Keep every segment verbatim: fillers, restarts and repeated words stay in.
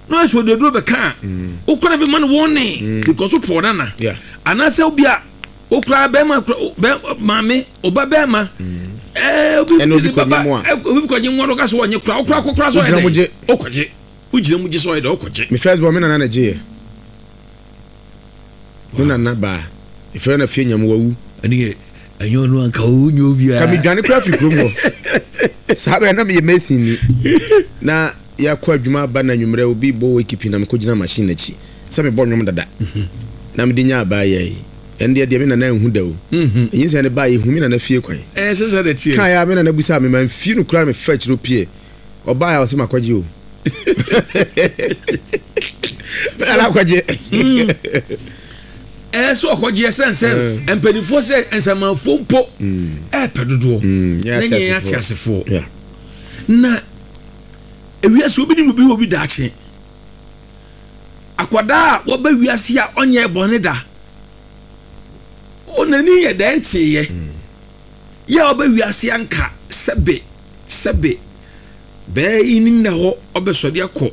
Na ɔsɛ ɔde aduro bɛka a, wokora bɛma no wɔne because wopɔ nana Yeah. anaasɛ obi a wokora bɛrima kora bɛ maame ɔba bɛrima ɛɛ obi Ɛna obi de baba kɔnye mu a. ɛ, obi kɔnye mu a, ɔka sɛ ɔnye kora, wokora kɔkora sɛ Wogyina ɔyɛ mu dɛ gye. Wokɔgye, wogyina mu gye sɛ ɔyɛ dɛ wokɔgye. Me first born, me nana na gye yɛ. Me nana baa efɛ na fie nyam wawu. Ɛne yɛ ɛnyɛ ɔno anka wonyɛ obiara. Ka medwane kora firi kurom hɔ saa bɛɛ na meyɛ mason ni na yɛakɔ adwuma aba na anwummerɛ obi bɔ wɔ ekipi na mekɔgyina machine n'akyi sɛ mebɔ nnwom dada na mede nya abaa yɛ yi. Ɛno deɛ deɛ me nana nhu da o. Ɛnyi sɛ ne baa yɛhu me nana fie kwan. Ɛɛ, sɛ sɛ de teɛ. Kaa yɛ a me nana busa me ma mfie no kora, mefa akyire pie ɔbaa a ɔsɛ makɔgye o, me nana akɔgye. Ɛɛ, sɛ ɔkɔgye ɛsɛn sɛ mpanimfoɔ sɛ nsamanfoɔ mpo ɛɛpɛ dodoɔ Mm, yɛ na nyɛ yɛ ate ate asefoɔ. Yeah. Na ewiase obi ni obi wɔ obi daakye. Akwadaa a wɔba wiase a ɔnyɛ bɔne da, ɔnani yɛ dɛn teeɛ yɛ a ɔba wiase anka sɛbe sɛbe bɛɛ yi ni na hɔ ɔbɛsɔde akɔ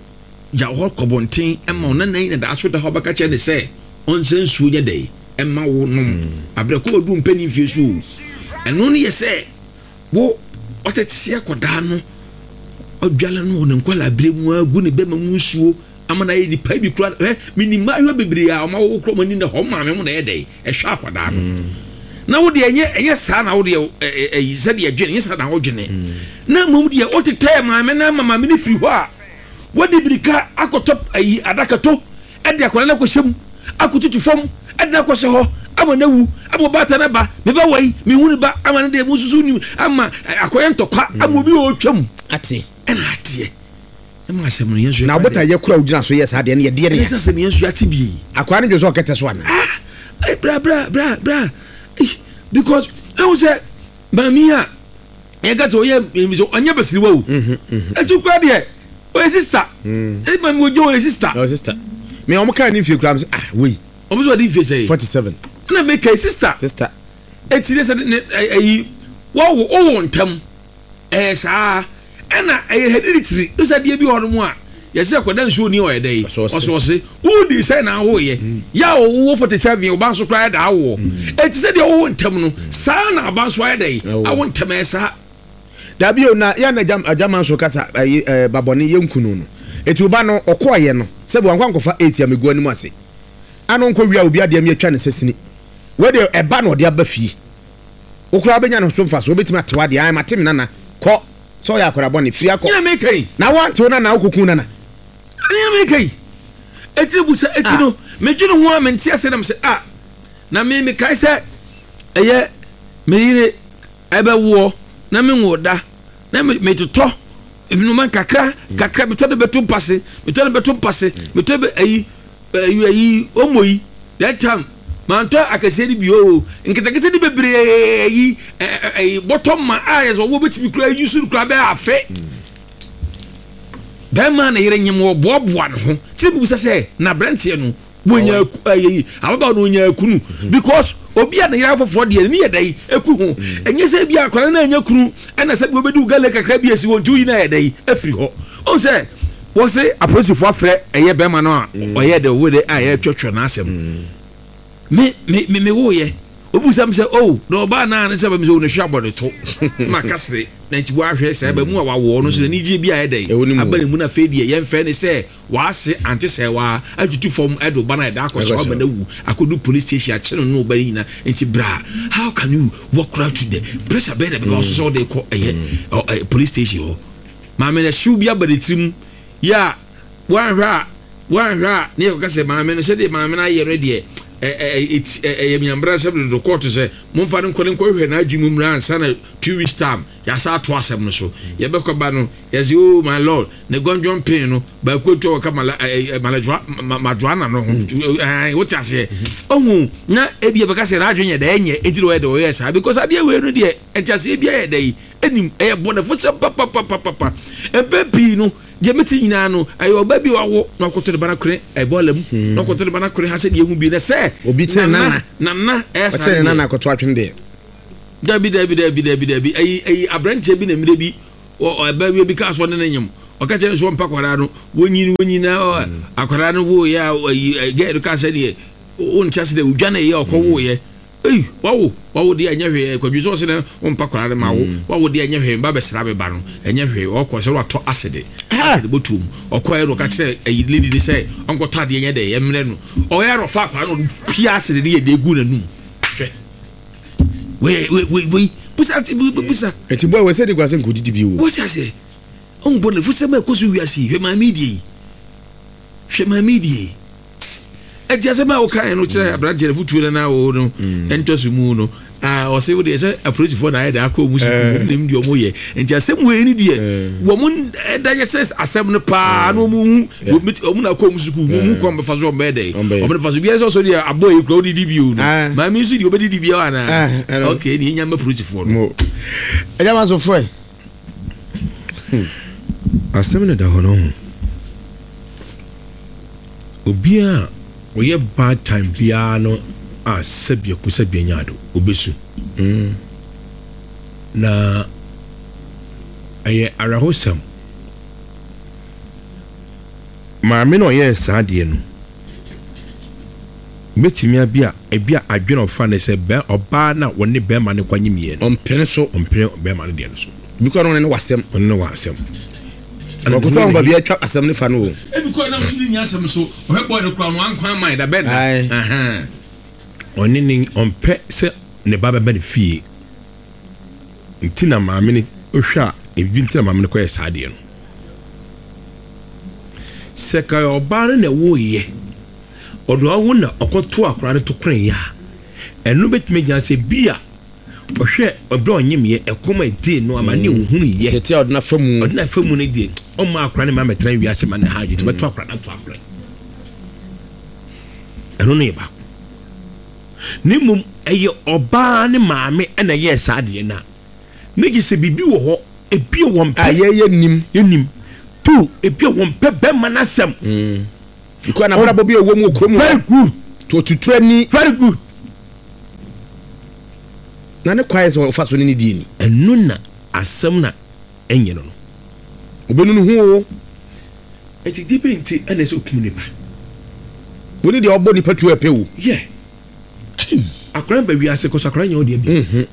gya hɔ kɔ bɔnten ɛma ɔnana yi na daa so da hɔ ɔbɛka kyerɛ ne sɛ ɔnsɛ nsuo nyɛ dɛ ɛma wo nom abrɛ kɔ odu mpɛni mfie so o. Ɛno no yɛ sɛ wo ɔtete akwadaa no, ɔdwale no wɔ ne nkwalaa abere mu agu ne bɛma mu nsuo ama na ayɛ nipa bi kura. Ɛ, minim mmaayewa bebree a ɔma wɔwɔ kura ɔmo ani na hɔ maame mo na ɛyɛ dɛ ɛhwɛ akwadaa no. Na wo deɛ ɛnyɛ ɛnyɛ saa na wo deɛ ɛ ɛ sɛdeɛ ɛdwene ɛnyɛ saa na wodwene, na mmom deɛ wotetɛ maame na ama maame no firi hɔ a wɔde birika akɔtɔ ayi adakato ɛde akwadaa no akɔhyɛ mu akɔtutu fam ɛde no akɔhyɛ hɔ ama no awu ama ɔbaata no ba meba wɔ yi mehu ne ba ama no deɛ mu nsusu nim ama akɔyɛ ntɔkwa ama obi a ɔretwam. Ate. Ɛna ateɛ ɛma asɛm no yɛn nso na abota yɛ kura ogyina so yɛ saa deɛ no yɛ deɛ ne ɛne sɛ asɛm yɛn nso yɛate bie. Akwaa no dwe sɛ ɔkɛtɛ so ana? Ah, eh, bra bra bra bra. Eh, because ɛhu sɛ maame a yɛka sɛ ɔyɛ ɛmi sɛ ɔnyɛ basiriwa o, ɛtu kura deɛ ɔyɛ sister ɛdi maame wɔ gye ɔyɛ sister. Ɔ sister, me ɔmo kaa ne mfie kura mi sɛ, ah, wei. Ɔmo sɛ ɔde nfie sɛ forty seven. Ɛna meka sister. Sister. Eti ne sɛ ne ɛyi wɔwo ɔwɔ ntɛm ɛyɛ saa ɛna ɛyɛ hereditary ɛsɛ adeɛ bi wɔ hɔ nom a yɛsɛ kɔda nsuo ni ɔyɛ dɛ yi. Ɔsɔɔse. Ɔsɔɔse wodi sɛ na awoyɛ yɛ a ɔwɔ forty seven ɔba nso koraa ɛda awoɔ. Eti sɛ deɛ ɔwɔ ntɛm no saa na aba nso ayɛ dɛ yi. Awo. Awo ntɛm ɛyɛ saa. Dabi o, na yɛ na agya agyama nso kasa ɛyi ɛɛ babɔne yɛ nkunu no eti ɔba no ɔkɔɔyɛ no sɛbi wankɔ ankɔfa esi amegu anim ase ano nkɔ wia obi adeɛ mi atwa ne sɛ sini wɔde ɛba na ɔde aba fie. Okura bɛnya ne so nfa so obetumi atewa adeɛ ayɛ mate mi nana kɔ sɛ ɔyɛ akɔda bɔne firi akɔ. Nyina meka yi. Na wantew nana okokun nana. Nyina meka yi, eti busa eti no medwene ho a mente ase nam sɛ ah, na me mekae sɛ ɛyɛ me yere ɛbɛwoɔ na me nwo da na me metotɔ noma nkakra kakra, metɔ de bɛto mpase, metɔ de bɛto mpase, metɔ bɛ ayi ayi ayi omo yi. That time mantɔ akɛseɛ no bi o, nketenkete no bebree ayi ɛyi bɔtɔ ma a yɛ sɛ ɔwɔ bɛtumi kura ayi so kura bɛyɛ afe. Bɛrima na yere nyim wɔ boaboa ne ho kyerɛ bi bisa sɛ na aberanteɛ no wɔnya ɛyɛ ababaawa no wɔnya kunu because obi a ne yere afoforɔ deɛ ne yɛ dɛ eku ho. Ɛnyɛ sɛ bi akwadaa no anya kunu ɛna sɛ bi obɛdi wo gale kakra bi esi wɔn ti woyi na yɛ dɛ efiri hɔ ɔn sɛ wɔsɛ apolisifoɔ afrɛ ɛyɛ bɛrima no a ɔyɛ dɛ owó de a yɛ twɛtwɛ n'asɛm. me me me me wo yɛ obi sɛ sɛ oh, na ɔbaa naa ne sɛ bɛmi sɛ o ne hwɛ abɔ ne to ma kasere na nti wahwɛ sɛ ɛbɛ mu a wawoɔ no so n'ani gye bi a ɛdɛ Ɛwɔ ne mu. Aba ne mu na afei deɛ yɛmfɛ ne sɛ waase ante sɛ waa atutu fam ɛde ɔba no a ɛda akɔhyɛ Akɔhyɛ. ɔba no awu akɔdu police station akye no ne ɔba no nyinaa. Nti bra, how can you walk right to the pressure bɛyɛ na bɛba so sɛ wode kɔ ɛyɛ ɔ, ɛ, police station hɔ? Maame no hyew bi aba ne tirim yɛ a wanhwɛ a wanhwɛ a ne yɛkɔka sɛ maame no sɛdeɛ maame no ayɛ no deɛ ɛ- ɛ- ɛ- ɛ- ɛyɛ miambra sɛ dodo kɔɔto sɛ momfa no nkɔ ne nkɔhwɛ n'adwe mu mmra ansa na two weeks time yɛasa ato asɛm no so. Yɛbɛkɔ ba no yɛsɛ, "Oh my lord," ne gɔndwɔn pin no baako etu a wɔka mala ɛ ɛ malajoa ma majoana no ho. Ɛɛ, wote aseɛ ɔhu na ebi yɛbɛka sɛ n'adwe nyɛ dɛ ɛnyɛ eti na ɔyɛ dɛ ɔyɛ saa because adeɛ wei no deɛ ɛnti aseɛ bi ayɛ dɛ yi ɛnim ɛyɛ bɔnɛfo sɛ papapapapa. Mpɛn pii no deɛ meti nyinaa no ɛyɛ ɔba bi wawo na ɔkɔtɔ ne ba no kore ɛbɔɔla mu na ɔkɔtɔ ne ba no kore ha sɛ deɛ ehu bi na sɛ Obi kyerɛ nana. Nana ɛyɛ saa. Ɔkyerɛ ne deɛ. nana akɔto atwene deɛ. Dabi dabi dabi dabi dabi, ɛyi ɛyi aberanteɛ bi na mmerɛ bi ɔ ɛbɛ bi kaa so ɔne ne nyam Ɔka kyerɛ no sɛ ɔmpa akwadaa no, wɔnyini wɔnyini na akwadaa no woyɛ a ayi gɛɛ no ka sɛ deɛ wonkyɛ ase dɛ odwa na ɛyɛ ɔkɔ woyɛ. Ei, wawo wawo deɛ ɛnyɛ hwee. Kwadwo sɛ ɔsɛ dɛ wompa akwadaa no ma wo, wawo deɛ ɛnyɛ hwee, mba bɛsra me ba no ɛnyɛ hwee. Ɔkɔ sɛ watɔ asede asede bɔtuom, ɔkɔɛ no ɔka kyerɛ ayi lady ne sɛ ɔnkɔtɔ adeɛ nyɛ dɛ yɛmmerɛ no. Ɔyɛ no ɔfa akwadaa no, ɔde pia asede de yɛ de egu n'anum. Hwɛ wei wei wei wei, busa busa. Eti boy wɔ sɛ de guase nkɔdidi bi wo. Wɔsi ase ɔnbɔ ne fusɛm a ɛkɔ so wiase yi. Hwɛ maame die yi, hwɛ maame die yi. Ɛti asɛm a wokae no kyerɛ aberanteɛ no fotuo no na wo no ɛntɔ so mu no, ɔse wo deɛ sɛ apolisifoɔ na ayɛ de akɔ mu sukuu nim deɛ ɔmo yɛ. Nti asɛm wei ni deɛ wɔn ɛda yɛ sɛ asɛm no paa na ɔmo hu ɔmo na akɔ mu sukuu na ɔmo hu kwan bɛfa so ɔmo bɛyɛ dɛ ɔmo de fa so biara sɛ ɔsɔ deɛ abɔ yi kura ɔdidi bio no. Maame nso deɛ ɔbɛdidi bio anaa? Ok, ne enya mma polisifoɔ no. Ɛyɛ ma so fɛ. Asɛm no da hɔ no ho. Obiara a ɔyɛ bad time biara no a sɛbea ku sɛbea nya ado obesu. Na ɛyɛ awerɛhosɛm. Maame no ɔyɛɛ saa adeɛ no, bɛtumi abi a ebi a adwene ɔfa ne sɛ bɛ ɔbaa na wɔne bɛrima no kɔnye mmienu. Ɔmpene so. Ɔmpene bɛrima no deɛ no so. Bi kɔ no ne wasɛm. Ɔne ne wasɛm. Ɔkɔ so ahoma bi atwa asɛm ne fa no o. Ebi kɔ nam so ne nya asɛm so ɔhwɛ bɔɔl no kura no ankwan man da bɛn na. Ɔne ne ɔmpɛ sɛ ne ba bɛba ne fie. Nti na maame no ohwɛ a ebi nti na maame no kɔyɛ saa adeɛ no. Sɛ ka ɔbaa no na ɛwɔ yɛ ɔdo awo na ɔkɔto akwaraa no to kwan yɛ a, ɛno bɛtumi gyina sɛ bi a ɔhwɛ ɔbrɛ ɔnyem yɛ ɛkɔm a ɛdee no ama ne ohunu yɛ. Tete a ɔde na fa mu. Ɔde na fa mu no deɛ ɔmma akwaraa no ma mɛtena wiase ma ne ha adwene bɛto akwaraa no ato akwaraa. Ɛno no yɛ baako. Ne mmom ɛyɛ ɔbaa ne maame ɛna ɛyɛɛ saa adeɛ no a, ne gye sɛ biribi wɔ hɔ ebi a wɔn pɛ. A yɛyɛ nim. Yɛ two ebi a wɔn pɛ bɛrima n'asɛm. Ikɔ na abrabɔ bi a ɛwɔ mu wɔ kurom. Very good. Tututu ani. Very good. Na ne kwae sɛ ɔfa so ne ne die ni. Ɛno na asɛm na ɛnyɛ no no. Obɛnu ne ho o. Ɛti di bi nti ɛna ɛsɛ okum nipa. Woni deɛ ɔbɔ nipa tuo ɛpɛ o. Yɛ. Akwaraa ba wiase kɔ so akwaraa nyɛ ɔdeɛ bi.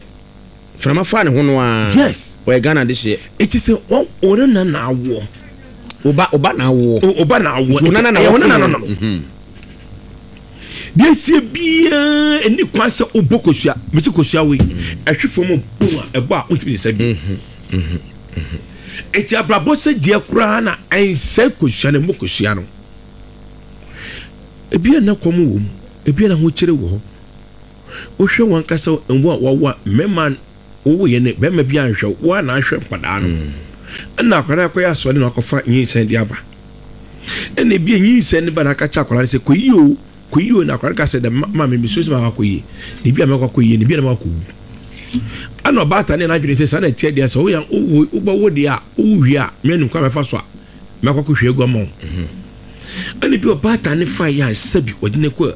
Frama fa ne ho no a. Yes. Ɔyɛ Ghana de hyeɛ. Eti sɛ wɔn wɔn na na awoɔ. Oba oba na awoɔ. Oba na awoɔ. Nti onana na wɔn nana no no. Deɛ esie biara ɛni kwan sɛ ɔbɔ kosua mesi kosua wei ɛhwe fam bom a ɛbɔ a ɔntumi sisa bi. Eti abrabɔ sɛ deɛ koraa na ɛnsɛ kosua na ɛmmɔ kosua no. Ebi a na kɔm wɔ mu, ebi a na ahokyere wɔ hɔ. Wohwɛ wɔn ankasa mmoa a wɔwɔ a mmarima wɔwɔ yɛ ne bɛrima bi anhwɛ wɔn a na ahwɛ nkwadaa no. Ɛna akwadaa akɔyɛ asɔre na akɔfa nyinsɛn de aba. Ɛna ebi a nyinsɛn ne ba na aka kyerɛ akwadaa no sɛ kɔyi o kɔyi o, na akwadaa no ka sɛ dɛ maame mi so sɛ ma akɔyie na ebi a mɛkɔ akɔyie na ebi a na ma akɔwu. Ɛna ɔbaatan ne n'adwene sɛ saa na ɛteɛ deɛ sɛ woyɛ wowo wobɛwo deɛ a wowo wie a mɛ kwan bɛfa so a mɛkɔ akɔhwɛ agu ama wo. Ɛna bi ɔbaatan ne fa yɛ a sɛbi ɔde ne kɔ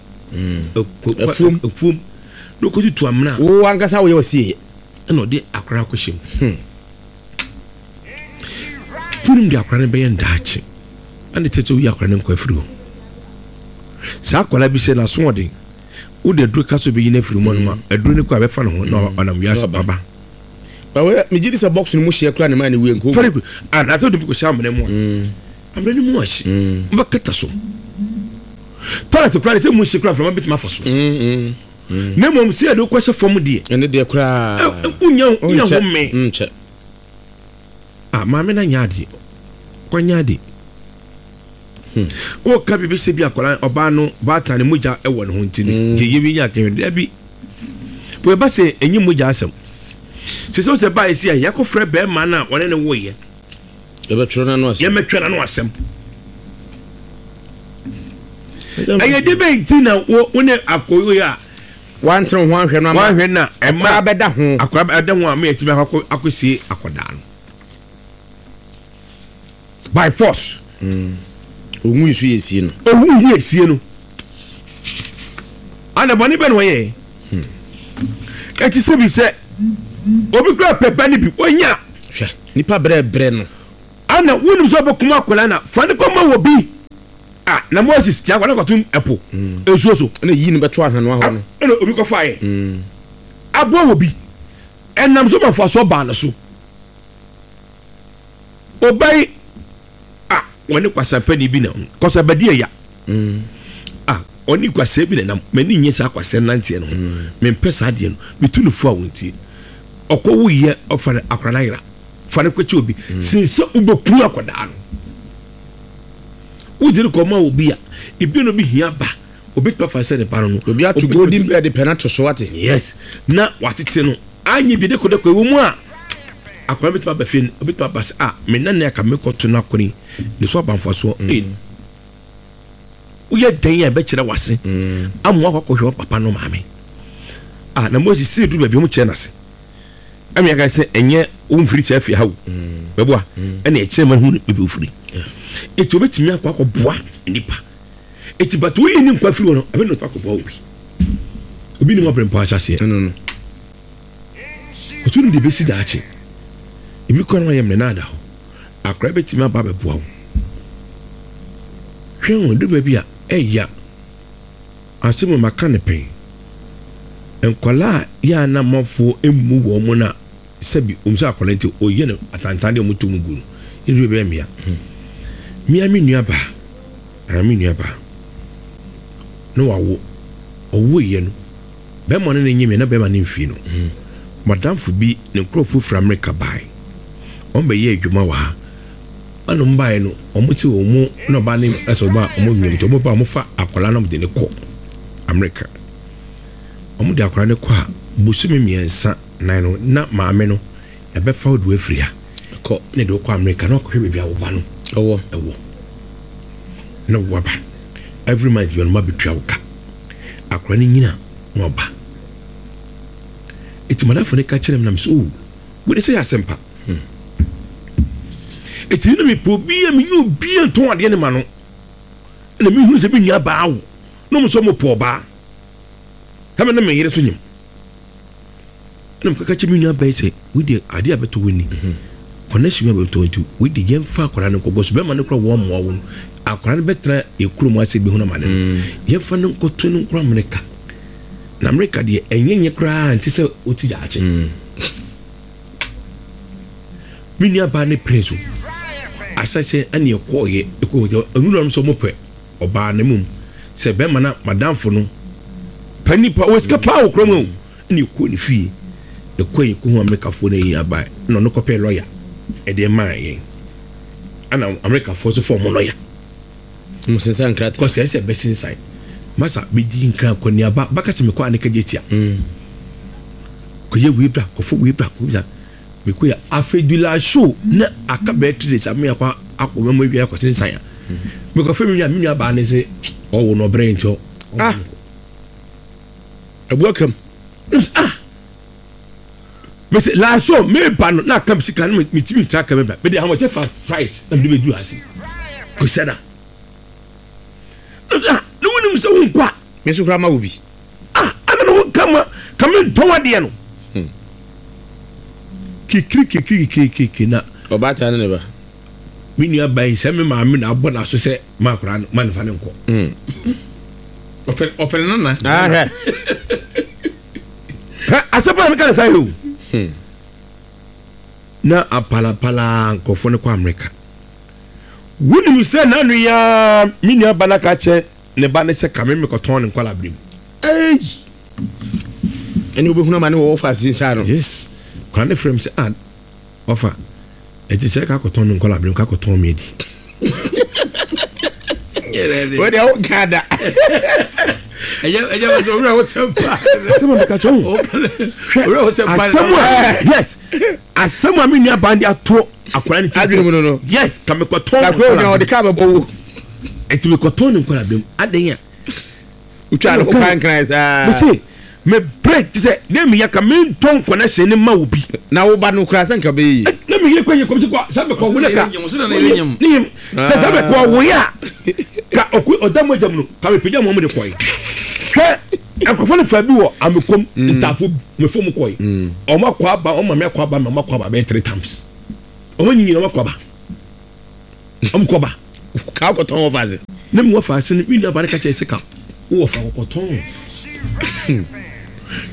afuom afuom na ɔkɔtutu amena. Wo ankasa woyɛ ɔsie. Ɛna ɔde akwadaa akɔhyɛ mu. Kunim de akwadaa no bɛyɛ ndaakye ɛna tete woyi akwadaa no nkɔ afiri hɔ. Saa akwadaa bi sɛ n'asoɔden wode aduro ka so bɛyi no afiri mu ɔnom a aduro no kɔ a bɛfa ne ho na ɔnam wiase aba. Megye di sɛ box no mu hyeɛ koraa ne maa ne wie nko. Very good. Anaasɛ wode bi kɔhyɛ amena mu a amena no mu ahye wobɛkata so toilet koraa de sɛ mu hye koraa mframa bɛtumi afa so. Na mmom sɛ yɛde wokɔhyɛ fam deɛ ɛne deɛ koraa wonya wonya ho me. Nkyɛ. Ah, maame na nya adeɛ kɔnya ade. Wɔka biribi sɛ bi akwadaa ɔbaa no baatan ne mogya wɔ ne ho nti no gye yɛ bi nya akɛhwɛ dabi wɔba sɛ ɛnyɛ mogya asɛm sɛ sɛ sɛ baa esi a yɛakɔfrɛ bɛrima no a ɔne ne woyɛ yɛbɛtwerɛ n'ano asɛm yɛmɛtwerɛ n'ano asɛm ɛyɛ de bɛn nti na wo wo ne akɔyɛ a wantene ho ahwɛ no ama wanhwɛ na ɛma akwadaa bɛda ho akwadaa bɛda ho a meyɛ akɔ akɔsie akwadaa no by force. Owu nso yɛ sie no. Owu yɛ sie no. Ana bɔne bɛ na ɔyɛ. Eti sɛ bi sɛ obi kura pɛpɛ ne bi onya. Hwɛ nipa brɛ brɛ no. Ana Ana wonim sɛ wobɛkum akwadaa na fa ne kɔma wɔ bi a na Moses kya akwadaa kɔtom ɛpo nsuo so. Ɛna yi no bɛto ahanoa hɔ no. Ɛna obi kɔfa yɛ aboa wɔ bi ɛnam so ma mfasoɔ baa no so. Ɔbɛyi a wɔne kwasampani bi na kwasabadi ɛya a ɔne kwasɛ bi na nam m'ani nye saa kwasɛ nanteɛ no ho mempɛ saa adeɛ no metu no fo a wɔntie ɔkɔ wo yɛ ɔfa no akwadaa no ayera fa no kɔkyɛ obi sen sɛ wobɛku akwadaa no wogye no kɔma obi a ebi no bi hia ba obɛtumi afa sɛ ne ba no no Obi ato golden bed pɛ na to so ate. Yes, na watete no anyɛ bi dekodeko ɛwɔ mu a akwadaa bɛtumi aba fie no obɛtumi aba sɛ a me nane aka mekɔto no akɔni ne so aba mfasoɔ mm. Woyɛ dɛn a ɛbɛkyerɛ wase amoa akɔ akɔhwɛ wo papa no maame a na Moses sii duru baabi ɔmo kyerɛ n'ase ɛmi aka sɛ ɛnyɛ womfiri sɛ afie ha wo bɛboa ɛna ɛkyerɛ ma hu baabi ofiri eti obɛtumi akɔ akɔboa nipa eti but woyi ne nkwa firi hɔ no ɛbɛ na akɔboa obi obi ne mu abere mpo ahyɛ aseɛ Ɛno no. Ɔtɔ no de bɛsi daakye ebi kɔ no ayɛ mmerɛ no ada hɔ akora bɛtumi aba abɛboa wo hwɛ ho du baabi a ɛya asɛm a maka ne pɛn nkwalaa a yɛ a na amanfoɔ mmu wɔn mo no a sɛbi ɔmu sɛ akwadaa nti ɔyɛ no atantan deɛ ɔmo to mu gu no ɛdu bɛyɛ mmea mmea me nua baa anaa me nua baa na wawo ɔwo yɛ no bɛrima no ne nye me na bɛrima no mfii no madamfo bi ne nkurɔfoɔ firi Amerika bae wɔn bɛyɛ adwuma wɔ ha ɛna ɔmo baeɛ no ɔmo te wɔn mu na ɔbaa ne ɛsɛ ɔbaa ɔmo nwom nti ɔmo ba ɔmo fa akwadaa no ɔmo de ne kɔ Amerika ɔmo de akwadaa no kɔ a bosome mmiɛnsa nan no na maame no ɛbɛfa wo de wafiri ha Kɔ. ne de wokɔ Amerika na ɔkɔhwɛ baabi a wo ba no Ɛwɔ. ɛwɔ na waba every month bi ɔno ma bɛtua wo ka akwadaa no nyina na waba eti madamfo no ka kyerɛ me na me sɛ o wode sɛ yɛ asɛmpa eti na mepɛ obi a menye obi a ntɔn adeɛ ne ma no ɛna mehunu sɛ me nua baa wo na ɔmo sɛ ɔmo pɔ ɔbaa ɛmɛ na me yere so nyim ɛna mekaka kyerɛ me nua baa yi sɛ wode adeɛ a bɛtɔ wɔ ni connection bi a bɛtɔ nti wode yɛmfa akwadaa no nkɔgɔ so bɛrima no kora wɔn mmoa wo no akwadaa no bɛtena ekurom ase bi ho na ma ne no yɛmfa no nkɔto no nkɔ Amerika na Amerika deɛ ɛnyɛ nyɛ koraa nte sɛ ɔti gyaakye me nua baa ne pere so asɛsɛ ɛne ɛkɔɔyɛ ɛkɔ ɔnura no sɛ ɔmo pɛ ɔbaa ne mum sɛ bɛrima na madamfo no pɛ nipa wɔ sika paa wɔ kurom o ɛne ɛkɔ ne fie ɛkɔ yɛ kɔhu Amerikafoɔ no ayi aba ɛna ɔno kɔpɛ lɔya ɛde maa yɛn ɛna Amerikafoɔ so fɔ ɔmo lɔya Mo sensan nkrataa. Kɔsɛ ɛsɛ bɛsensan masa bɛdi nkra kɔniaba baka sɛ mekɔ aneka gye tia kɔyɛ wei bra kɔfɔ wei bra kɔ bra mekɔ yɛ afei show na aka bɛyɛ three days ame akɔ akɔ mɛmɔ awia akɔ sensan a mekɔfɛ me nua me nua baa ne sɛ ɔwo no ɔbrɛ nti ɔ Ah. Abu akam. Ah, mese last show meba no na aka me sika no metumi ntra ka meba mede ahoɔkyɛ fa flight na mede bɛduru ase kɔsɛ da ah ne wonim sɛ wonkɔ a Me nso koraa ma wo bi. Ah, ana na wonka ma ka mentɔn adeɛ no kikiri kikiri kikiri kikiri na Ɔbaatan ne ne ba. Me nua ba yi sɛ me maame na abɔ n'aso sɛ ma akwadaa no ma ne fa ne nkɔ. Ɔpɛ ɔpɛ ne nana. Ah, hwɛ. Hɛ asɛm a meka ne saa yɛ o na apalapala nkurɔfoɔ no kɔ Amerika wonim sɛ nanu ya me nua ba no aka kyerɛ ne ba ne sɛ kame mekɔtɔn ne nkwala berɛ mu. Ei. Ɛne wobɛhunu ama ne wɔwɔ fa asensan no. Yes, kwan ne frɛ m sɛ ah ɔfa ɛti sɛ ka kɔtɔn me nkwala berɛ mu ka kɔtɔn me adi. Wode wo ka da. Ɛyɛ ɛyɛ wɔ owurɛ wɔ sɛm pa. Asɛm a meka kyerɛ wo Owurɛ wɔ sɛm pa. Asɛm a yes asɛm a me nua ba de ato akwadaa ne ti Adwene mu no no. Yes, ka mekɔtɔn Na ne kuro nkwala nya ɔde kaa bɛbɔ wo. ɛti mekɔtɔn ne nkwala berɛ mu adɛn a Wotwa ne ho kwan saa. mese mebrɛ te sɛ ne meyɛ ka mentɔn connection ne ma wo bi. Na wo ba no koraa sɛ nka bɛyɛ yie. Na meyere kɔ yɛ kɔm sɛ kɔ sɛ mekɔ wo ne ka Ɔsɛ na yere nyem, ɔsɛ na yere nyem. ne yem sɛ sɛ mekɔ wo yɛ a ka ɔkɔ ɔda mu agya mu no ka mepagya mu ɔmo de kɔe hwɛ nkurɔfoɔ no fa bi wɔ amekom ntaafo mefo mu kɔe ɔmo akɔ aba ɔmo maame akɔ aba ma ɔmo akɔ aba bɛyɛ three times ɔmo nyinyi ɔmo akɔ aba. Ɔmo kɔba. Ka wokɔtɔn wɔ faase. Ne mu wɔ faase no, me nua ba no ka kyerɛ sɛ ka wowɔ fa kɔkɔtɔn.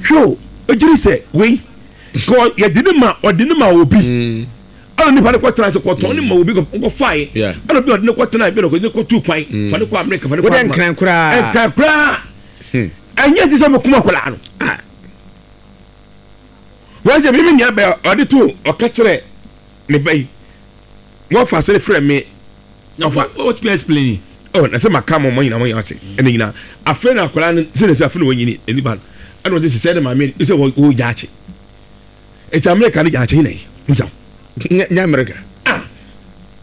Hwɛ o, egyiri sɛ wei kɔ yɛde ne ma, ɔde ne ma obi. Mm. Ɛna nipa ne kɔtena ase kɔtɔn ne ma obi kɔfaeɛ. Yeah. Ɛna obi a ɔde ne kɔtena bi na ɔde ne kɔtu kwan. Fa ne kɔ Amerika, fa ne kɔ Wode Ama. nkran koraa. Nkran koraa. Hmm. Ɛnyɛ ti sɛ ɔmo kum akwadaa no. Ah. Wɔn sɛ mímí nua bɛ ɔde to ɔka kyerɛ ne ba yi. Wɔfa ase frɛ me. Ɔfa. What you explain? Ɔ na sɛ maka mo mo nyinaa mo nyinaa ase ɛna nyinaa afei na akwadaa no sɛ na sɛ afei na wɔnyini nipa no ɛna ɔde sisɛ ne maame sɛ wɔ wɔ gyaakye eti Amerika ne gyaakye nyina yi nsa. Nyɛ nyɛ Amerika. Ah,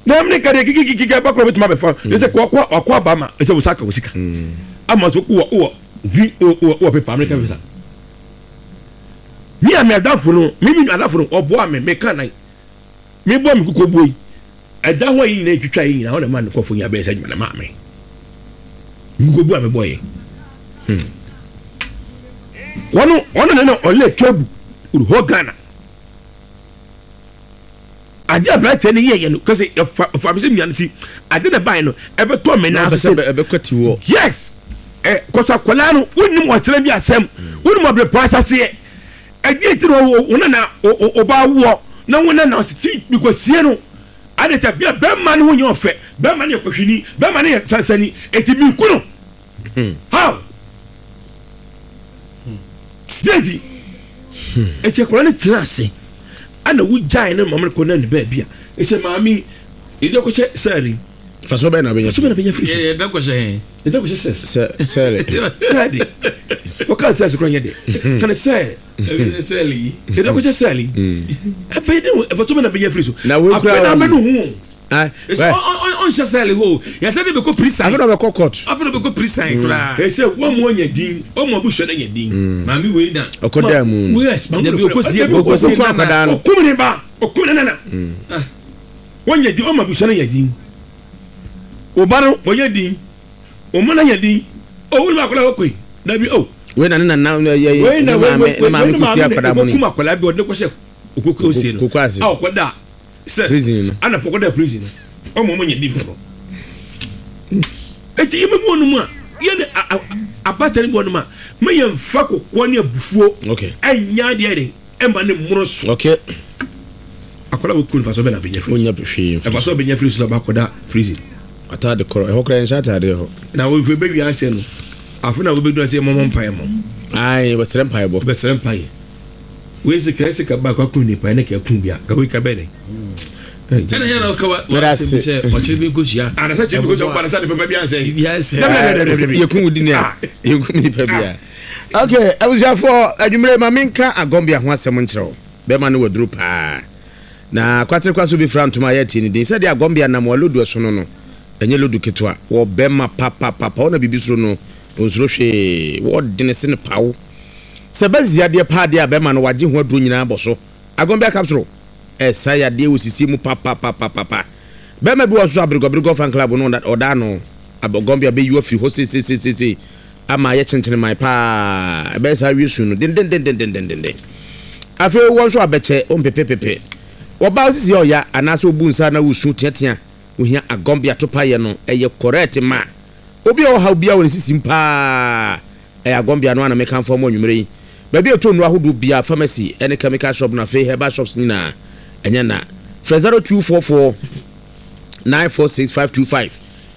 na Amerika deɛ kikikiki ɛba kora bɛtumi abɛfa ɛsɛ kɔ ɔkɔ ɔkɔ aba ma ɛsɛ wosa ka wo sika ama so wɔ wɔ bi wɔ wɔ wɔ pepa Amerika visa. Mi a mi adafo no, mi mi adafo no, ɔboa mi, mi ka nan mi bɔ mi koko buo yi ɛda hɔ yi nyinaa etwitwa yi nyinaa ɔna ma ne kɔfo nyinaa bɛyɛ sɛ adwuma na maa mi mi koko buo a mi bɔ yɛ wɔn wɔn na na ɔlɛ kebu hɔ Ghana ade aberanteɛ no yɛ yɛ no kɛsɛ ɛfa ɛfa mi sɛ mia no ti ade na ban no ɛbɛtɔ mi Na nan ɔpɛ so sɛ sɛ ɛbɛkɔ ti wɔ. Yes, ɛ kɔsɔ akwadaa no, wonim ɔkyerɛ bi asɛm, wonim ɔbɛrɛ asaseɛ ɛdeɛ ti na wo nana ɔba woɔ na wo nana ɔsi ti bikɔsie no ade kyɛ bia bɛrima no ho nyɛ ɔfɛ, bɛrima no yɛ kɔhwini, bɛrima no yɛ sansani, eti mi ku no how deɛ eti akwadaa no tena ase ɛna wogyae no maame no kɔ na ne baabi a ɛsɛ maame yɛde akɔhyɛ sɛɛri. Fa so bɛn na bɛnya. So bɛn na bɛnya firi so. Yɛ bɛ kɔhyɛ hɛn. Yɛde akɔhyɛ sɛs. Sɛ sɛle. Sɛɛde wɔka sɛs kora nyɛ de kane sɛ Sɛɛli yi. yɛde akɔhyɛ sɛɛli ɛbɛyɛ de ɛfa so bɛn na bɛnya firi so. Na wei kura afei na wɔn. abɛno ho. Ah, Ɛsɛ ɔnhyɛ sɛɛli hɔ o. Yɛsɛ de bɛ kɔ prison. Afei na ɔbɛkɔ court. Afei na bɛ kɔ prison koraa. Ɛsɛ wɔn mu ɔnya din, wɔn mu abusua no nya din. Maame wei na. Ɔkɔ dan mu no. Yes, maame. Dabi, okosie- okosie akwadaa no. Ɔkum ne ba, ɔkum ne nana. Wɔnya din, wɔn mu abusua no nya din. Ɔba no wɔnya din, ɔmo no nya din. Ɔwɔ ne mu akwadaa wɔkɔ yi dabi o. Wei na ne nana yɛ Wei yɛ na ne wei maame wei ne maame wei kɔsi akwadaa mu ni. ɔkum akwadaa bi, ɔde ne kɔhyɛ okoko osie no. Koko ase. A ɔkɔda sɛs. Prison no. Ana fɔ kɔda prison no, ɔmo ɔmo nya din foforɔ. Eti yɛ bɛ bu wɔn mu a yɛ ne a- a- abata ne bu wɔn mu a mɛ yɛn nfa kɔkɔɔ ne abufuo Okay. ɛnya adeɛ de ɛma ne mmoro so. Okay. Akwadaa wo kun fa so bɛ na bɛ nya firi. Wonya hwee mfiri. Ɛfa so bɛ nya firi so sɛ ɔba akɔda prison. Ataade korɔ ɛhɔ koraa yɛnhyɛ ataade hɔ. Na wɔn fɛ bɛ wi ase no, afei na wɔbɛdu ase mɔmɔ mpaeɛ mɔ. Ayi, wɔsrɛ mpaebɔ. Bɛsrɛ mpaeɛ. Wei sɛ kɛse sɛ kaba akɔ akun nipa ɛne kɛ kun bia ka wei ka bɛ ne. Ɛna yɛn na ɔka wa. Meda ase. Sɛ ɔkyerɛ bi nkosua. Anasa kyerɛ bi nkosua ɔba anasa de pɛpɛ bi ansɛ. Bi ansɛ. Yɛkum wo dini a yɛkum nipa bi a. Okay, abusuafoɔ, adwumire ma menka agɔmbea ho asɛm nkyerɛ wo. Bɛrima no waduru paa na kwaterekwa so bi fra ntoma a yɛatie ne din sɛdeɛ agɔmbea nam wɔ lodu ɛso no no ɛnyɛ lodu ketewa wɔ bɛrima papapapa. Ɔna biribi soro no ɔnsuro hwee, wɔdene se ne pawo sɛ bɛzi adeɛ paa deɛ a bɛrima no wagye ho aduro nyinaa bɔ so. Agɔmbea capsule ɛsa yadeɛ wɔ sisie mu papapapapa. Bɛrima bi wɔ so aberegɔberegɔ fan club no ɔda no agɔmbea bɛyi afiri hɔ seesesesese ama ayɛ kyenkyene man paa, ɛbɛyɛ saa wie su no dendendendendendenden. Afei wɔn nso abɛkyɛ ɔmpepepepe wɔbaa sisi a ɔya anaasɛ obu nsa na wosu teatea ohia agɔmbea to payɛ no ɛyɛ correct ma obi a ɔhaw bia wɔ ne sisi mu paa. Ɛyɛ agɔmbea no ana mekamfo mu anwummerɛ yi. Baabi a ɛtɔ nnuro ahodoɔ bia, pharmacy ɛne chemical shop no, afei herbal shops nyinaa ɛnyɛ na frɛ zero two four four nine four six five two five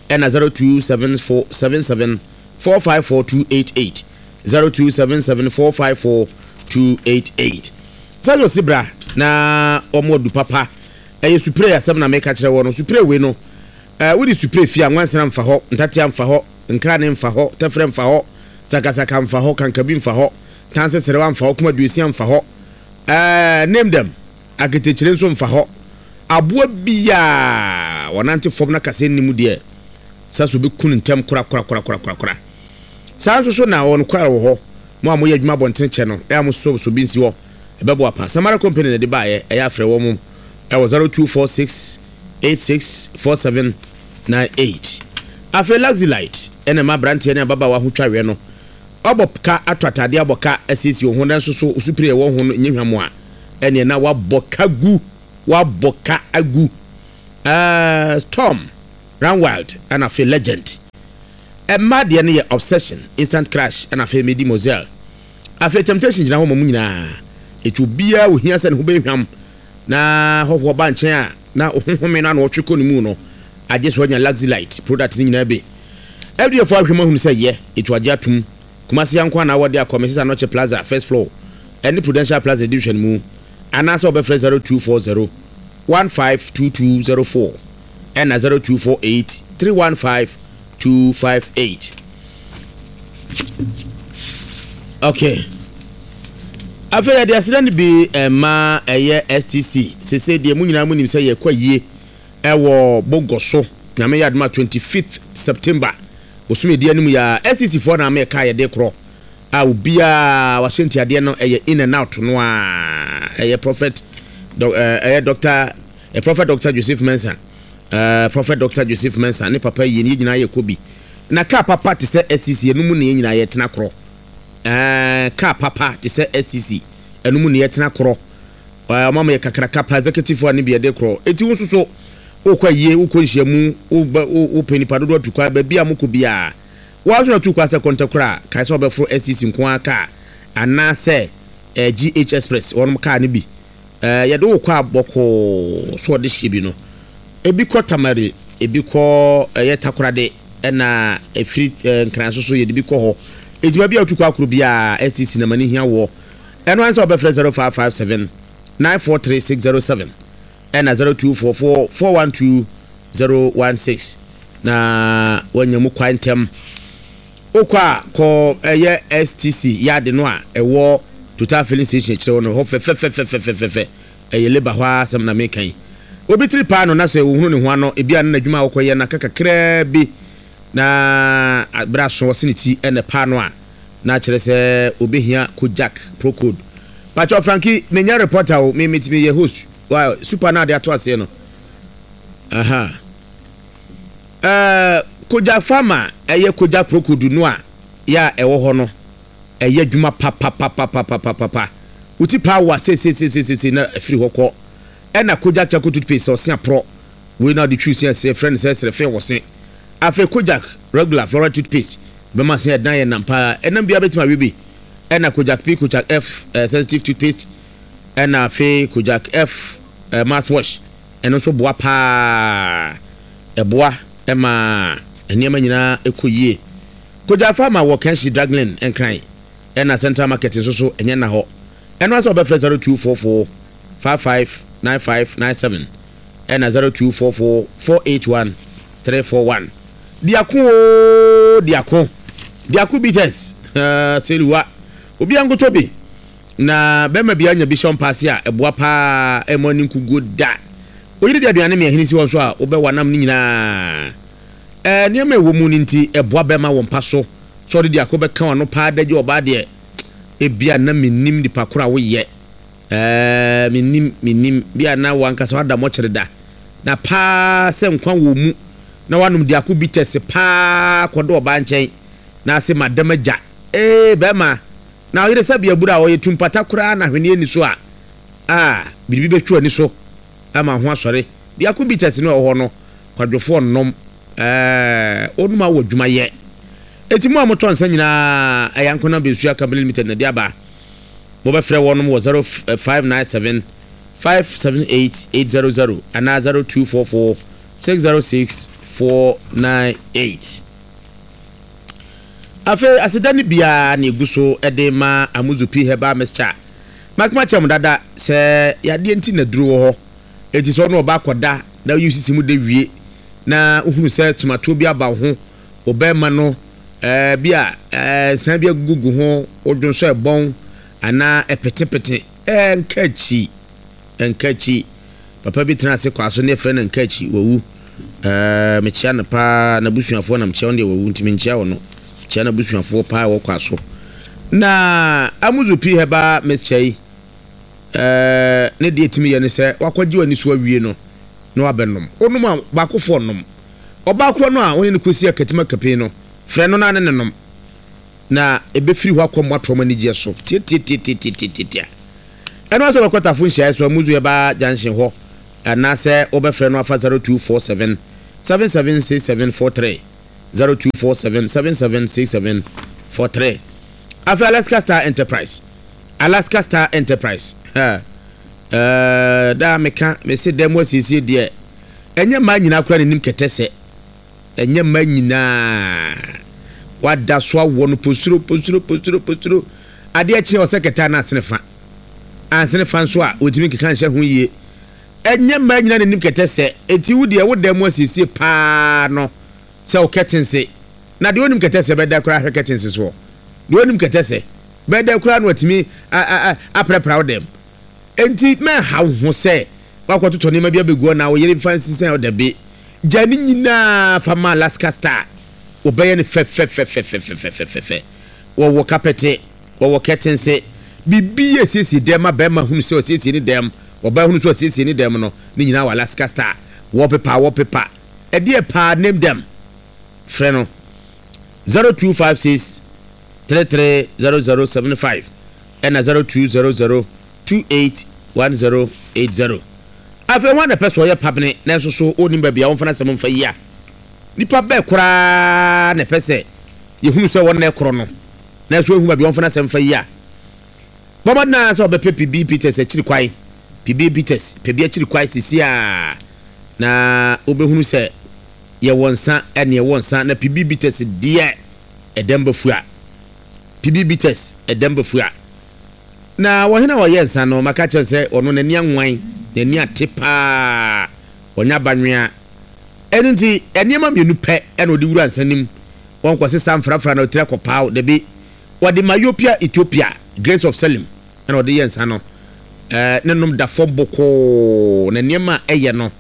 ɛna zero two seven four seven seven four five four two eight eight, zero two seven seven four five four two eight eight. Sɛ ɔsi bra na ɔmo adu papa. Ɛyɛ supre asɛm na meka kyerɛ wɔ no. Supre wei no, ɛɛ wode supre fie a, nwansena mfa hɔ, ntatea mfa hɔ, nkrane mfa hɔ, tɛfrɛ mfa hɔ, sakasaka mfa hɔ, kankabi mfa hɔ, tanseserewa mfa hɔ, kuma duosia mfa hɔ, ɛɛ name them, aketekyire nso mfa hɔ. Aboa biaa wɔnante fam na kasa nnim deɛ sɛ so bɛku no ntɛm korakorakorakorakora. Saa nso so na wɔn kwara wɔ hɔ mo a moyɛ adwuma abɔntene kyɛ no ɛyɛ a mo so so bi nsi hɔ ɛbɛboa pa. Samara Company na ɛde baeɛ. Ɛyɛ afrɛ wɔ mo ɛwɔ zero two four six eight six four seven nine eight. Afei Luxelite ɛna ɛma aberanteɛ ne ababaawa ho twareɛ no. Ɔbɔ ka ato atadeɛ, abɔ ka asiesie wo ho, nanso so osupire ɛwɔ ho no nyɛ hwam a ɛneɛ na wabɔ ka gu, wabɔ ka agu. ɛɛ storm Run Wild, ɛna afei Legend. Ɛmmaa deɛ no yɛ Obsession, Instant Crush, ɛna afei Medi Moselle. Afei Temptation gyina hɔ ma mu nyinaa. Ɛti obiara ohia sɛ ne ho bɛhwam na hɔhoɔ ba nkyɛn a na ɔhohome no ana ɔtwe kɔ ne mu no, agye so anya Luxelite product no nyinaa bi. F D A fo ahwɛ mu ahunu sɛ yɛ ɛtu agye atom. Kumase yanko anaa wɔde akɔ Missus Anɔkye Plaza, first floor, ɛne Prudential Plaza di hwɛ no mu, anaasɛ wɔbɛfrɛ zero two four zero one five two two zero four ɛna zero two four eight three one five two five eight. Okay, afei yɛde aseda no bi ɛma ɛyɛ S T C. Sese deɛ mu nyinaa mu nim sɛ yɛkɔ yie ɛwɔ Bogɔ so. Nyame yɛ adoma, twenty-fifth September bosome di anim yɛ S T C foɔ na ama yɛka yɛde korɔ a obiara wahyɛ ntiadeɛ no ɛyɛ in and out no a ɛyɛ prophet ɛyɛ doctor, Prophet Doctor Joseph Mensah, uh, Prophet Doctor Joseph Mensah ne papa yie ne yɛn nyinaa yɛ kɔ bi na kaa papa te sɛ S T C ɛno mu ne yɛn nyinaa yɛtena korɔ. ɛɛ kaa papa te sɛ S T C, ɛno mu ne yɛtena korɔ. ɛɛ ɔmo ama yɛ kakraka pa, executive a ne bi yɛde korɔ. Eti wo nso so wokɔ ayie, wokɔ nhyiamu, wobɛ wopɛ nipa dodoɔ atu kwa, baabi a mokɔ biara wɔn aso na tu kwa sɛ kɔntɛ a kae sɛ wɔbɛforo S T C nko ara kaa anaasɛ ɛɛ G H Express wɔn kaa no bi. ɛɛ yɛde wokɔ a bɔkɔɔ so ɔde hyɛ bi no, ebi kɔ Tamale, ebi kɔ ɛyɛ Takorade, ɛna efiri ɛɛ Nkran so so yɛde bi kɔ hɔ. Eti baabi a wotu kɔ akoro biara, S T C na ma ne hia wɔ ɛno ansa wɔbɛfrɛ zero five five seven nine four three six zero seven ɛna zero two four four four one two zero one six na wanya mu kwan ntɛm. Wokɔ a kɔ ɛyɛ S T C yard no a ɛwɔ Total filling station akyerɛ hɔ no hɔ fɛfɛfɛfɛfɛfɛ. Ɛyɛ labour hɔ a asɛm na meka yi. Obi tiri paa no na sɛ ohunu ne ho ano ebi a ne n'adwuma a wɔkɔyɛ na kakraa bi na berɛ aso wɔse ne ti ɛna paa no a na kyerɛ sɛ obɛhia Kojak Procode. Pakyɛ Franki, menyɛ reporter o, me metumi yɛ host wa super na ade ato aseɛ no. Aha, ɛɛ Kojak Farmer, ɛyɛ Kojak Procode no a yɛ a ɛwɔ hɔ no, ɛyɛ adwuma papapapapapapa. Wuti paa wa seesiesiesiesie na afiri hɔ kɔ. Ɛna Kojak charcoal toothpaste, ɔse aporɔ wei na ɔde twi si ɛsɛ frɛ no sɛ srɛfɛ wɔ se. Afei Kojak regular fluoride toothpaste bɛma sɛ ɛdan yɛ nam paa, ɛnam biara bɛtumi awe bi. Ɛna Kojak P, Kojak F uh, sensitive toothpaste, ɛna afei Kojak F uh, mouthwash, ɛno nso boa paa, ɛboa ɛma nneɛma nyinaa ɛkɔ yie. Kojak Farmer wɔ Kanshi Draglin, Nkran, ɛna Central Market nso so ɛnyɛ na hɔ. Ɛno asɛ ɔbɛfrɛ zero two four four five five nine five nine seven ɛna zero two four four four eight one three four one. Diako o, diako, diako bitters uh, seliwa obi ankoto bi na bɛrima bi anya bi hyɛ mpaase a ɛboa paa, ɛmɔ ani nkuguo da. Oyiri de aduane mmiɛnhene si hɔ nso a wobɛwa nam no nyinaa. ɛɛ nneɛma ɛwɔ mu no nti ɛboa bɛrima wɔ mpa so sɛ ɔde diako bɛka wano paa dagye ɔbaa deɛ ebia na menim nipa koro a woyɛ. ɛɛ menim menim bia na wankasa wada mɔkyere da na paa sɛ nkwa wɔ mu na wanom diako bitters paa kɔdɔ ɔbaa nkyɛn na ase madam agya ee bɛrima na ɔyere sɛ bia buru a ɔyɛ tumpata koraa na hweneɛ ni so a a biribi bɛtwa ani so ama ho asɔre. Diako bitters no ɛwɔ hɔ no, kwadwofoɔ nnom ɛɛ onum awɔ adwumayɛ. Eti mu a motɔ nsa nyinaa, ɛyɛ Ankona Bensua Company Limited na de aba. Mobɛfrɛ wɔnom wɔ zero five nine seven five seven eight eight zero zero anaa zero two four four six zero six four nine eight. Afei aseda no biara na egu so de ma Amuzu P Herbal Mixture. Makoma kyerɛ mo dada sɛ yadeɛ nti na duro wɔ hɔ. Eti sɛ ɔno ɔba akɔda na oyi sisi mu de wie na ohunu sɛ tomatoɔ bi aba wo ho, ɔbɛrima no ɛɛ bi a ɛɛ nsan bi agugu ho, odwo nso ɛbɔn anaa ɛpetepete, ɛɛ nka akyi, nka akyi. Papa bi tena ase kɔ aso ne yɛfrɛ no nka akyi, wawu. ɛɛ mekyia no paa, n'abusuafoɔ na mekyia wɔn deɛ wawu nti menkyia wɔn no, kyia n'abusuafoɔ paa ɛwɔ kɔ aso. Na Amuzu P Herbal Mixture yi, ɛɛ ne deɛ etimi yɛ ne sɛ wakɔgye w'ani so awie no na wabɛnom. Onom a baakofoɔ nom, ɔbaa korɔ no a wɔne no kɔsi akatim akapi no, frɛ no na ne ne nom na ebɛfiri hɔ akɔ mmoatoɔ mu anigyeɛ so tietietietietietietia. Ɛno asɛ wɔkɔ Tafo nhyiaeɛ so, Amuzu Herbal Junction hɔ, anaasɛ wobɛfrɛ no afa zero two four seven seven seven six seven four three zero two four seven seven seven six seven four three. Afei Alaska Star Enterprise, Alaska Star Enterprise, ɛɛ daa meka mese dɛm asiesie deɛ, ɛnyɛ mmaa nyinaa koraa n'anim kɛtɛ sɛ ɛnyɛ mmaa nyinaa wada so awɔ no posuro posuro posuro posuro. Adeɛ kyerɛ ɔsɛ kɛtɛ na asene fa ansene fa nso a wɔntumi nkeka nhyɛ ho yie. Ɛnyɛ mmaa nyinaa n'anim kɛtɛ sɛ eti wo deɛ wo dɛm asiesie paa no sɛ wo kɛtense na deɛ onim kɛtɛ sɛ bɛda koraa ahwɛ kɛtense soɔ, deɛ onim kɛtɛ sɛ bɛda koraa no watumi aprapra wo dɛm. Enti mɛnha wo ho sɛ wakɔtotɔ nneɛma bi abɛgu hɔ na wo yere mfa nsensɛn ɔda bi. Gya ne nyinaa fa ma Alaska Star, wɔbɛyɛ no fɛfɛfɛfɛfɛfɛfɛfɛ. Wɔwɔ kapɛte, wɔwɔ kɛtense, biribi yɛ siesie dɛm ma bɛrima hunu sɛ ɔsiesie ne dɛm, ɔbaa hunu sɛ ɔsiesie ne dɛm no, ne nyinaa wɔ Alaska Star. Wallpaper, wallpaper ɛdeɛ paa, name them. Frɛ no zero two five six three three zero zero seven five ɛna zero two zero zero two eight one zero eight zero. Afei wɔn na pɛ sɛ ɔyɛ pabene nanso so ɔnim baabi a wɔmfa n'asɛm mfa yi a, nipa bɛɛ koraa na ɛpɛ sɛ yɛhunu sɛ wɔn na ɛkorɔ no nanso ehu baabi a wɔmfa n'asɛm mfa yi a, bɔmmɔden sɛ ɔbɛpɛ P B Peters akyiri kwan. P B Peters pɛ bi akyiri kwan sisi a na wobɛhunu sɛ yɛwɔ nsa ɛne ɛwɔ nsa na P B Peters deɛ ɛdɛm bɛfu a P B Peters ɛdɛm bɛfu a na wɔhene a ɔyɛ nsa no, maka kyerɛ sɛ ɔno n'ani anwan, n'ani ate paa, ɔnyɛ abanwea. Ɛno nti nneɛma mmienu pɛ ɛna ɔde wura nsa nim. Wɔn kɔ sesa mfrafra na ɔtiri akɔpaaw dabi. Wɔde Myopia Ethiopia Grace of Selim ɛna ɔde yɛ nsa no. ɛɛ ne nom da fam bokoo na nneɛma a ɛyɛ no,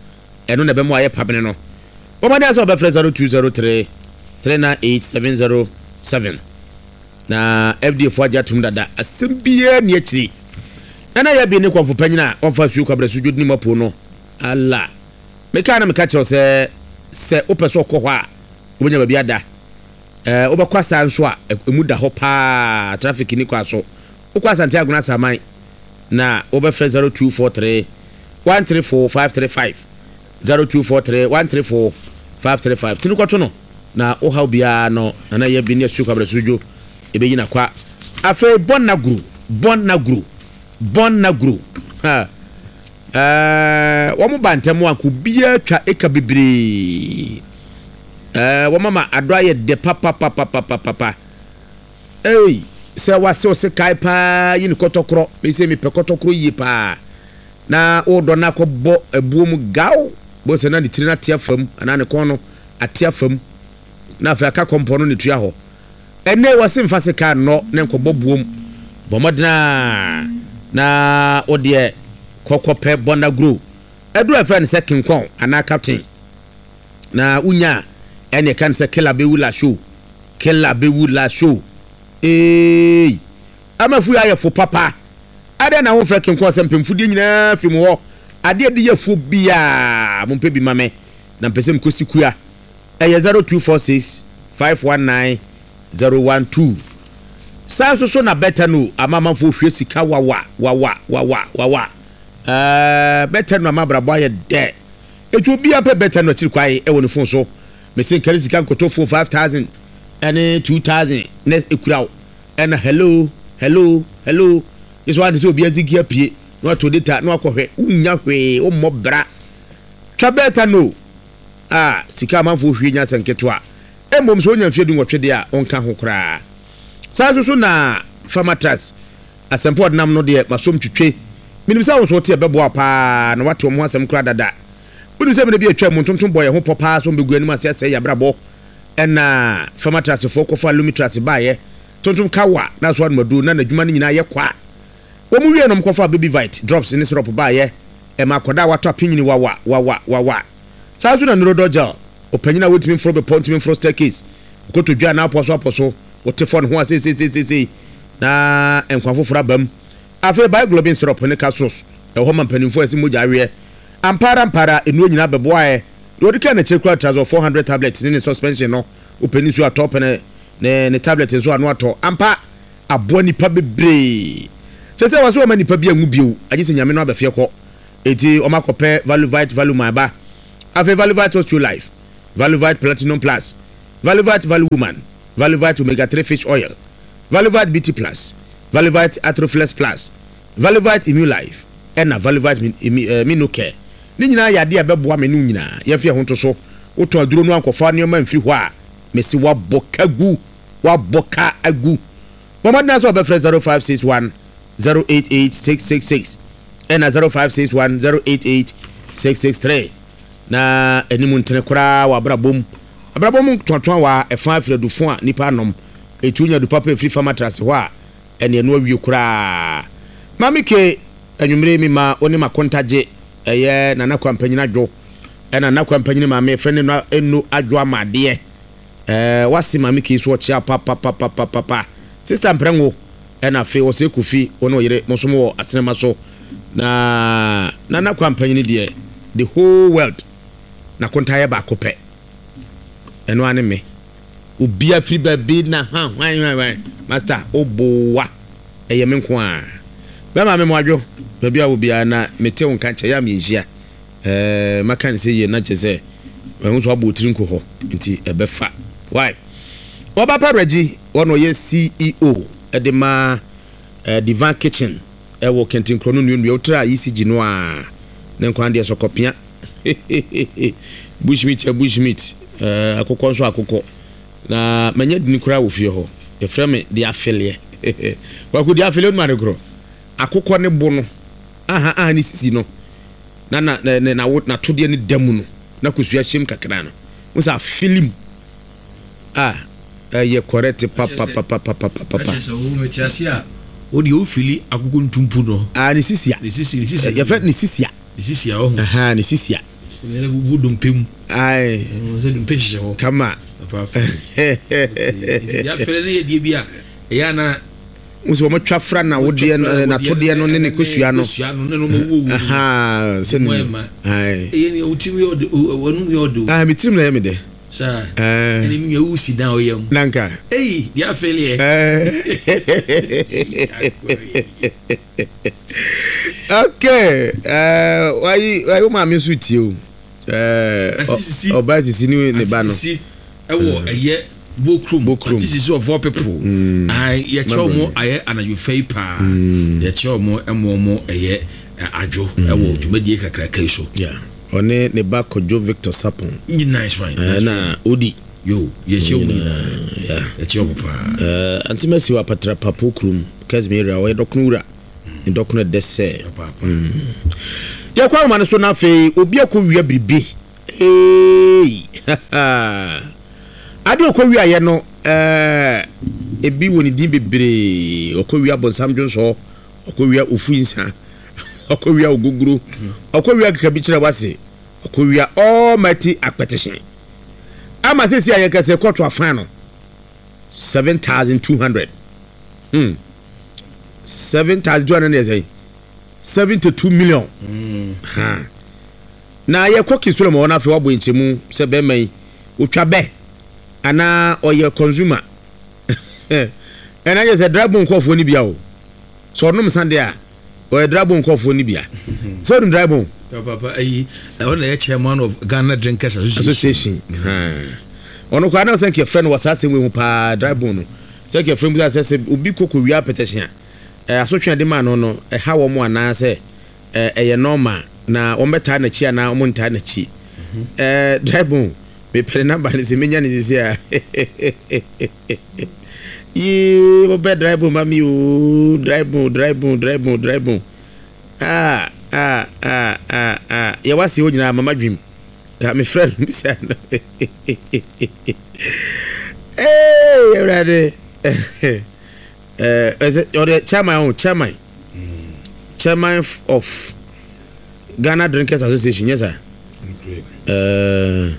ɛno na ɛbɛmo ayɛ pabene no. Wɔn sɛ ɔbɛfrɛ zero two zero three three nine eight seven zero seven na F D A fo agye atum dada, asɛm biara ni akyiri. Nana yɛ bi ne kɔnfo panyin a wɔmfa suo kwabrɛ so dwodi ne mu apo no ala meka na meka kyerɛw sɛ sɛ wopɛ sɛ ɔkɔ hɔ a, wobɛnya baabi ada. ɛɛ wobɛkɔ asa nso a, emu da hɔ paa, traffic ni kɔ aso. Wokɔ Asante Agona Asaman na wobɛfrɛ zero two four three one three four five three five, zero two four three one three four five three five. Tini kɔto no na wohaw biara no, Nana yɛ bi ne asuo kwabrɛ so dwo ɛbɛyi na kwa. Afei bɔn na guru, bɔn na guru, bɔn na guru ha ɛɛ wɔn ba ntɛm a ko biara twa eka bebree. ɛɛ wɔn ama adɔ ayɛ dɛ papapapapapa. Ei, sɛ wase ɔse kae paa yi ne kɔtɔkorɔ mese mepɛ kɔtɔkorɔ yie paa na wodɔ no akɔbɔ abuo mu gaw bɔ sɛ na ne tiri no ate afam anaa ne kɔn no ate afam na afei aka kɔmpɔ no ne tua hɔ. Ɛnɛ wɔse mfa se kaa nnɔ ne nkɔbɔ buom. Bɔ mmɔdena na wodeɛ kɔkɔpɛ bɔnaguro ɛduru a ɛfrɛ no sɛ kinkɔn anaa captain na wonya a, ɛne ɛka no sɛ kela bɛwu la show, kela bɛwu la show. Ee, amafu yɛ ayɛ fo papa. Adɛn na womfrɛ kinkɔn sɛ mpemfudeɛ nyinaa fi mu hɔ adeɛ de yɛ fuo biaa? Mompɛ bi ma me na mpɛ sɛ mekɔsi kua. Ɛyɛ zero two four six five one nine zero one two. Saa nso so na bɛta no ama amanfoɔ hwie sika wawa wawa wawa wawa. ɛɛ bɛta no ama abrabɔ ayɛ dɛ. Etu obiara pɛ bɛta no akyiri kwae ɛwɔ ne phone so. Mesi nkari sika nkotofo five thousand ɛne two thousand na ekura wo ɛna hello hello hello yɛsɛ wɔn ade sɛ obi azigi apue na wato data na wakɔhwɛ, wonya hwee, wommɔ bra. Twa bɛta no a sika amanfoɔ hwie nya sɛ nketewa. Mmom sɛ wonya mfeɛ du nwɔtwe deɛ a, ɔnka ho koraa. Saa nso so na famatras asɛmpa ɔdenam no deɛ masom twitwe. Menim sɛ wo nso wote ɛbɛboa paa na wate ɔmo ho asɛm koraa dada. Wonim sɛ mene bi atwa mu ntontom bɔ yɛ ho pɔ paa so mbɛgu anim ase asɛe yɛ abrabɔ. Ɛna famatrasfoɔ kɔfa lumitras baeɛ, tontom kawa na so anomaduro na n'adwuma no nyinaa yɛ kwa. Wɔn mu wie nom kɔfa Baby Vite drops ne syrup baeɛ, ɛma akɔda a watɔ apenyini wawa wawa wawa. Saa nso na Nurodɔ gel, ɔpanyin a wɔntumi mforo bepɔ, ntumi mforo staircase, ɔkɔtɔ dwa na apɔ so apɔ so, wɔte fɔ ne ho a seeseeseesei na nkwa foforɔ aba mu. Afei Bioglobin syrup ne capsules ɛwɔ hɔ ma mpanimfoɔ a ɛsɛ mogya aweɛ. Ampara ampara nnuro nyinaa bɛboaeɛ deɛ ɔde kaa n'akyire kora Trazol four hundred tablet ne ne suspension no. Wopɛ ne nsuo atɔ pɛ ne ne ne tablet nso ano atɔ ampa aboa nipa bebree sɛ sɛ wɔsɛ wɔma nipa bi anwu bio agye sɛ Nyame no abɛfeɛ kɔ. Eti wɔn akɔpɛ Valuvite Valuma aba. Afei Valuvite Osteo Life. Valuvite Platinum Plus, Valuvite Value Woman, Valuvite Omega three Fish Oil, Valuvite B T Plus, Valuvite Atroflex Plus, Valuvite Immune Life, ɛna Valuvite Minocare. Ne nyinaa yɛ adeɛ a ɛbɛboa me ne wo nyinaa. Yɛmfa yɛn ho nto so. Wotɔn aduro no ankɔfa nneɛma mfiri hɔ a, mese woabɔ ka gu. Woabɔ ka agu. Bɔ mmɔden ara sɛ wɔbɛfrɛ zero five six one zero eight eight six six six ɛna zero five six one zero eight eight six six three na anim ntene koraa wɔ abrabɔ mu. Abrabɔ mu toatoa wɔ a ɛfa afiri adufo a nnipa anom. Eti wonya adu papa efiri fam atrase hɔ a, ɛne ɛno awie koraa. Maame K, anwummere yi mema wo ne m'akontagye, ɛyɛ Nana Kwampanyin Adwo, ɛna Nana Kwampanyin maame yɛfrɛ no Eno Eno Adwo Amadeɛ. Ɛɛ, wase Maame K so ɔkyea papapapapapa. Sista Mprɛngo, ɛna afei Ɔsɛe Kofi, wo ne wo yere, mo nso mowɔ asenema so. Na Nana Kwampanyin deɛ, the whole world, n'akonta yɛ baako pɛ. Ɛno ara ne me. Obia firi baabi na ha hwan hwan hwan. Master, obowa. Ɛyɛ me nko ara. Bɛma me moadwo, baabi a wɔ biara na mete wo nka kyɛ, yɛ a menhyia. Ɛɛ, maka no sɛ yie na kyerɛ sɛ mahu sɛ wabɔ wo tiri nko hɔ nti ɛbɛfa. Why? Ɔba pa Reggie, ɔna ɔyɛ C E O de ma eh, Divine Kitchen ɛwɔ Kɛntinkorɔ no nnuannua. Wotra E C G no a, ne nkwa deɛ sɔkɔpea. Bushmeat yɛ bushmeat, eh, akokɔ nso akokɔ. Na manya dini koraa wɔ fie hɔ. Yɛfrɛ me de afeleɛ. Kwaku de afeleɛ onum ade korɔ. Akokɔ ne bo no, aha aha ne sisi no, na na na na na natodeɛ no da mu no, na kosua hyɛm kakra no. Wo sɛ afele mu. Ah, ɛyɛ correct papapapapapapa. Ɛkyɛ sɛ wo mete ase a, wo deɛ wo fili akokɔ ntumpu no. Ah, ne sisia. Ne sisi, ne sisi. Yɛfrɛ ne sisia. Ne sisia ɔho. Aha, ne sisia. Yɛrɛ bubu dompe mu. Aye. Sɛ dompe hyehyɛ hɔ. Kama. Papa. Nti deɛ afɛlɛ ne yɛ deɛ bi a, ɛyɛ ana. Wo sɛ wɔn twa fra na wodeɛ no, na todeɛ no ne ne kosua no. Kosua no ne no ma wuo wuo. Aha, sɛ ne mu. Aye. Ɛyɛ ne wo tirim yɛ ɔde, wɔnum yɛ ɔde o. Ah, me tirim na ɛyɛ me dɛ. Saa. Ɛne mi nua wusi dan ɔyɛ mu. Nanka. Eyi, deɛ afɛlɛ yɛ. Okay. Eh, wayi, wayi wo maame nso tie o. Eh, ɔbaa sisi ne ne ba no. Sisi ɛwɔ ɛyɛ Bokrom. Bokrom. Ati sisi of all people. Ayi, yɛkyerɛ wɔn ayɛ anadwo fɛ yi paa. Yɛkyerɛ wɔn ɛmo wɔn ɛyɛ adwo ɛwɔ dwumadie kakraka yi so. Yeah. Ɔne ne ba Kojo Victor Sapon. Nice one. Eh, na Odi. Yo, yɛkyerɛ wɔn nyinaa. Yeah. Yɛkyerɛ wɔn paa. Eh, Auntie Mercy wɔ Apatra Papo kurom, Kesmi area, ɔyɛ dɔkono wura. Ne dɔkono ɛdɛ sɛ. Yɛkɔ ahoma no so na afei obi akɔ wia biribi. Hey! Ade ɔkɔ wia yɛ no, eh, ebi wɔ ne din bebree. Ɔkɔ wia bonsam dwonsɔ, ɔkɔ wia ofu nsa, ɔkɔ wia ogogoro, ɔkɔ wia keka bi kyerɛ wase, ɔkɔ wia almighty akpɛtehye. Ama sisi a yɛkɛsɛ kɔto afan no seven thousand two hundred. Hmm. seven thousand two hundred yɛ sɛn? seventy-two million. Mm. Ha. Na yɛkɔ Kisolom hɔ na afei wabɔ nkyɛmu sɛ bɛrima yi otwa bɛ anaa ɔyɛ consumer. Ɛna yɛ sɛ drive nkɔfoɔ ni bia o. Sɛ ɔnom sa deɛ a ɔyɛ drive nkɔfoɔ ni bia. Sɛ ɔnom drive. Papa ayi ɛwɔ na yɛ chairman of Ghana Drinkers Association. Association. Ɔno koraa na sɛ nkɛ frɛ no wɔ saa asɛm wei ho paa drive no. Sɛ nkɛ frɛ mu sɛ sɛ obi kɔkɔ wia petition a asotwe de ma no no ɛha wɔn anaa sɛ ɛyɛ normal na wɔn bɛtaa n'akyi anaa wɔn ntaa n'akyi. Ɛɛ drive mepɛ ne number ne sɛ menya ne sisi a. Yee wɔbɛ drive ma mi o drive drive drive drive. Ah ah ah ah ah yɛ wasi hɔ nyinaa mama dwim. Ka me friend mi sɛ no. Ee Awurade. Eh ɛsɛ ɔde chairman o chairman. Chairman of Ghana Drinkers Association yes sir. Eh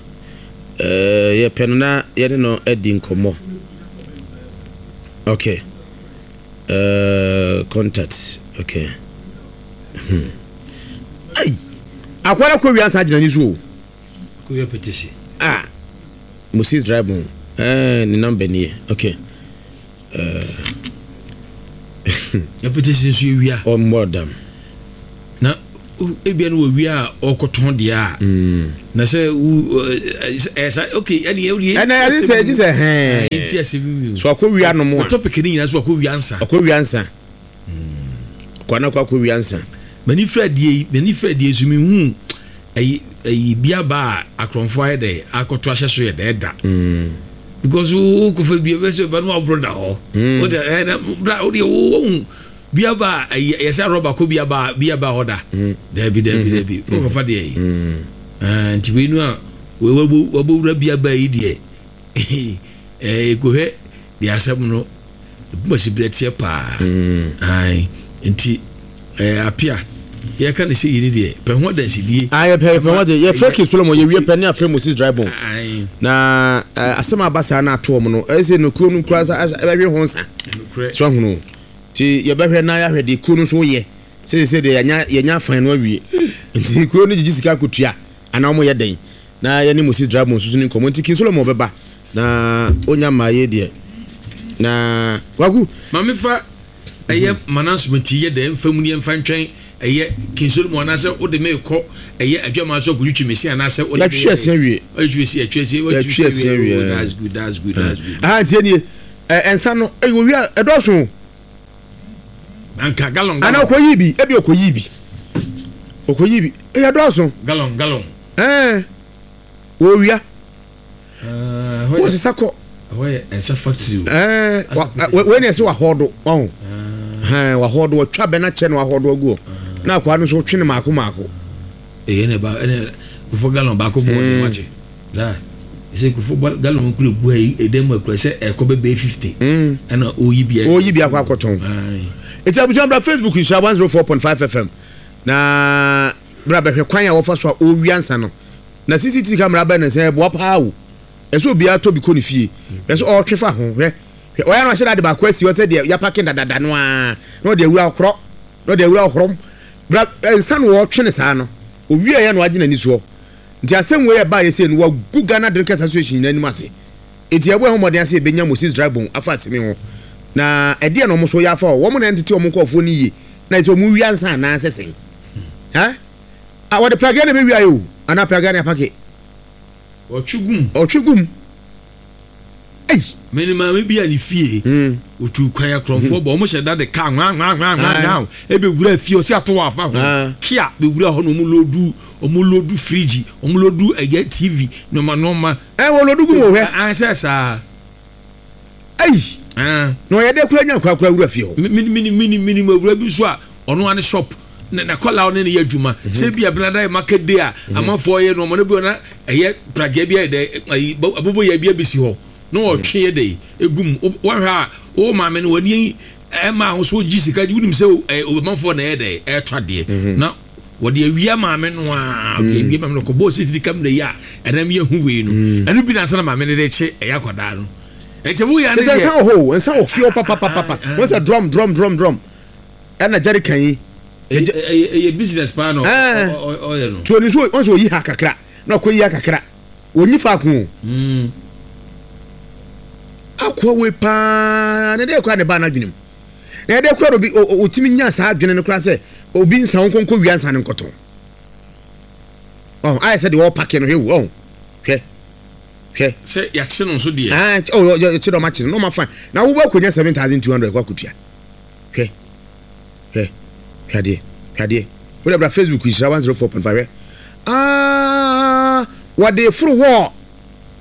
eh yɛ pɛ no na yɛne no adi nkɔmmɔ. Okay. Uh, contact. Okay. Hmm. Ay. Akwara ko wi ansa gyina ni so o. Ko wi petition. Ah. Moses drive on. Eh, ne number ni. Okay. Eh. Petition so wi a. Oh, more than. Na Ebia no wɔ wia a ɔkɔtɔn deɛ a na sɛ wo ɛɛ sa, okay, ɛne ɛne Ɛnna yɛde sɛ gye sɛ hɛn ɛnti asɛm bi so akɔ wia nom a topic ne nyinaa so akɔ wia nsa. Ɔkɔ wia nsa, kɔ na kɔ akɔ wia nsa. M'ani fira die yi, m'ani fira die so mehu ɛyi ɛyi biaba a akorɔmfoɔ ayɛ dɛ akɔto ahyɛ so yɛ dɛ da because wo kɔfa bia bɛ sɛ ba no waboro da hɔ Mm. wo de ɛ na bra wo deɛ wo wohu biaba a ɛyɛ yɛ sɛ rɔba kɔ biaba biaba hɔ da. Dabi, dabi, dabi, wo kɔfa deɛ yi. Ah, nti wei no a wabɔ wabɔwura biaba yi deɛ, ɛɛ ekohwɛ deɛ asɛm no ebumasi berɛ teɛ paa. Ayi, nti ɛɛ apia yɛka ne sɛ yi ni deɛ pɛ ho adansidie. Ah, yɛpɛ yɛpɛ ho de yɛfrɛ King Solomon, yɛwie pɛ ne afrɛ Moses Drybone. Ayi. Na eh, asɛm a aba saa no ato ɔm no, ɛyɛ sɛ no kuo no kura sa ɛbɛhwe ho nsa. Ɛnokorɛ. So ahono nti yɛbɛhwɛ na yɛahwɛ deɛ kuo no nso yɛ sɛ sɛ deɛ yɛnya yɛnya afan no awie, nti kuo no gyegye sika akɔtua anaa ɔmo yɛ dɛn na yɛne Moses Drybone nso so ne nkɔmmɔ. Nti King Solomon bɛba na ɔnya mmaa yɛ deɛ na Kwaku. Maame, fa ɛyɛ manasement yɛ dɛ mfa mu ne yɛmfa ntwɛn ɛyɛ King Solomon anaasɛ wode me kɔ ɛyɛ adwama so akɔtwitwi me se anaasɛ wode me Yɛatwe yɛ asia dɛn? wie. Ɔtwitwi me se, yɛatwe asia. Yɛatwe asia wie. Oh, that's good, that's good, that's good. Aha, ntie nie, ɛ ɛnsa no ɛyɛ owia, ɛdɔɔso o. Anka gallon Ana gallon. Ɔkɔyi bi, ebi ɔkɔyi bi, ɔkɔyi bi, ɛyɛ dɔɔso. Gallon gallon. Ɛɛ, wɔwia. Ah, ɛhɔ yɛ wɔsesa kɔ. Ɛhɔ yɛ ɛnsa factory o. Ɛɛ, wa- wa- wei na ɛsɛ wahɔɔdo ɔho hɛn, wahɔɔdo, wɔtwa bɛ na kyɛ no, wahɔɔdo agu hɔ na akwaa no nso wɔtwe no maako maako. Ɛyɛ ne ba ɛne kufo gallon baako bɔ ɔde wakye daa ɛsɛ kufo bɔ gallon kura gu ha yi ɛdɛm mu akura sɛ ɛkɔ bɛ bɛyɛ fifty. Mm. Ɛna oyi bi. Ɔyi bi akɔ akɔtɔn. Ayi. Eti abusua, bra Facebook Nhyira one zero four point five F M na bra bɛhwɛ kwan a wɔfa so a ɔwia nsa no. Na C C T V camera bɛn ne nsa ɛboa paa o, ɛsɛ obiara tɔ bi kɔ ne fie. Ɛsɛ ɔretwe fa ho, hwɛ hwɛ, ɔyɛ no ahyɛ dade baako asi hɔ sɛ deɛ yapake dadada no ara na ɔde awura ɔkorɔ na ɔde awura ɔkorɔm bra nsa no wɔretwe ne saa no owie yɛ na wagye n'ani soɔ. Nti asɛm wei ɛbaa yɛ sɛ no wagu Ghana Drinkers Association nyinaa anim ase. Eti ɛbɔ ɛho mmɔden ase ebenya Moses Drybone afa asɛm yi ho na ɛdeɛ na ɔmo so yɛ afa hɔ, wɔn na ɛntete ɔmo nkɔɔfoɔ no yie na ɛsɛ ɔmo wia nsa anaasɛ sɛn ha a wɔde pragea na ɛbɛwia yi o, anaa pragea na apake. Ɔtwe gum. Ɔtwe gum ɛyi. Mɛni maame bi a ne fie Mm. otu kwan, akorɔmfoɔ bɔ ɔmo hyɛ da de kaa nwa nwa nwa nwa nwa ebe wura fie, ɔsi ato wɔ afa ho Ah. kia bewura hɔ na ɔmo load ɔmo load fridge, ɔmo load ɛyɛ T V, nneɛma nneɛma. Ɛ, wɔ load gum o, hwɛ. Ansɛ saa. Ɛyi. Ɛn. Na ɔyɛ dɛ kura nya kura kura wura fie hɔ. Mini mini mini mini mu awura bi nso a ɔno ane shop na na kɔla ɔne ne yɛ adwuma sɛ bi abenada yɛ market day a amanfoɔ yɛ no ɔmo ne bi ɔna ɛyɛ pragea bi ayɛ dɛ ayi abobo yɛ bi abesi hɔ na ɔtwe yɛ dɛ egu mu. Wɔhwɛ a wo maame no wɔni ɛma ahosuo gyi sika, wonim sɛ ɛ amanfoɔ na ɛyɛ dɛ ɛɛtɔ adeɛ na wɔde awia maame no a wɔde awia maame no kɔ bɔɔl C C T V camera yi a ɛnam yɛ hu wei no ɛno bi na nsa na maame no de kye ɛyɛ akwadaa no ɛnkyɛn wo yɛ ne ɛsɛ deɛ. Nsa wɔ hɔ o, nsa wɔ fie hɔ papapapa. Wɔn sɛ drum drum drum drum ɛna jerrycan yi. ɛyɛ ɛyɛ ɛyɛ business paa na Ɛɛ. ɔ- ɔ- ɔyɛ no. Tí o ní so wɔn sɛ oyi ha kakra na ɔkɔ yi ha kakra, onyi faako o. Mm. Akoa wei paa ne deɛ kora ne ba n'adwene mu na yɛde kora obi o- o- otimi nya saa adwene no kora sɛ obi nsa wo nkonko wia nsa ne nkɔtɔn ɔn ayɛ sɛ deɛ ɔpake no. Hwɛ wo, ɔn hwɛ hwɛ. Sɛ yɛakye no nso deɛ. Ah, ɔ yɛ kye dɛ ɔma kye no na ɔma fine na wobɔ akɔnya seven thousand two hundred kɔ akɔtua. Hwɛ hwɛ hwɛ adeɛ, hwɛ adeɛ. Wode bra Facebook Nhyira one zero four point five, hwɛ. Ah, wɔde foro wɔɔ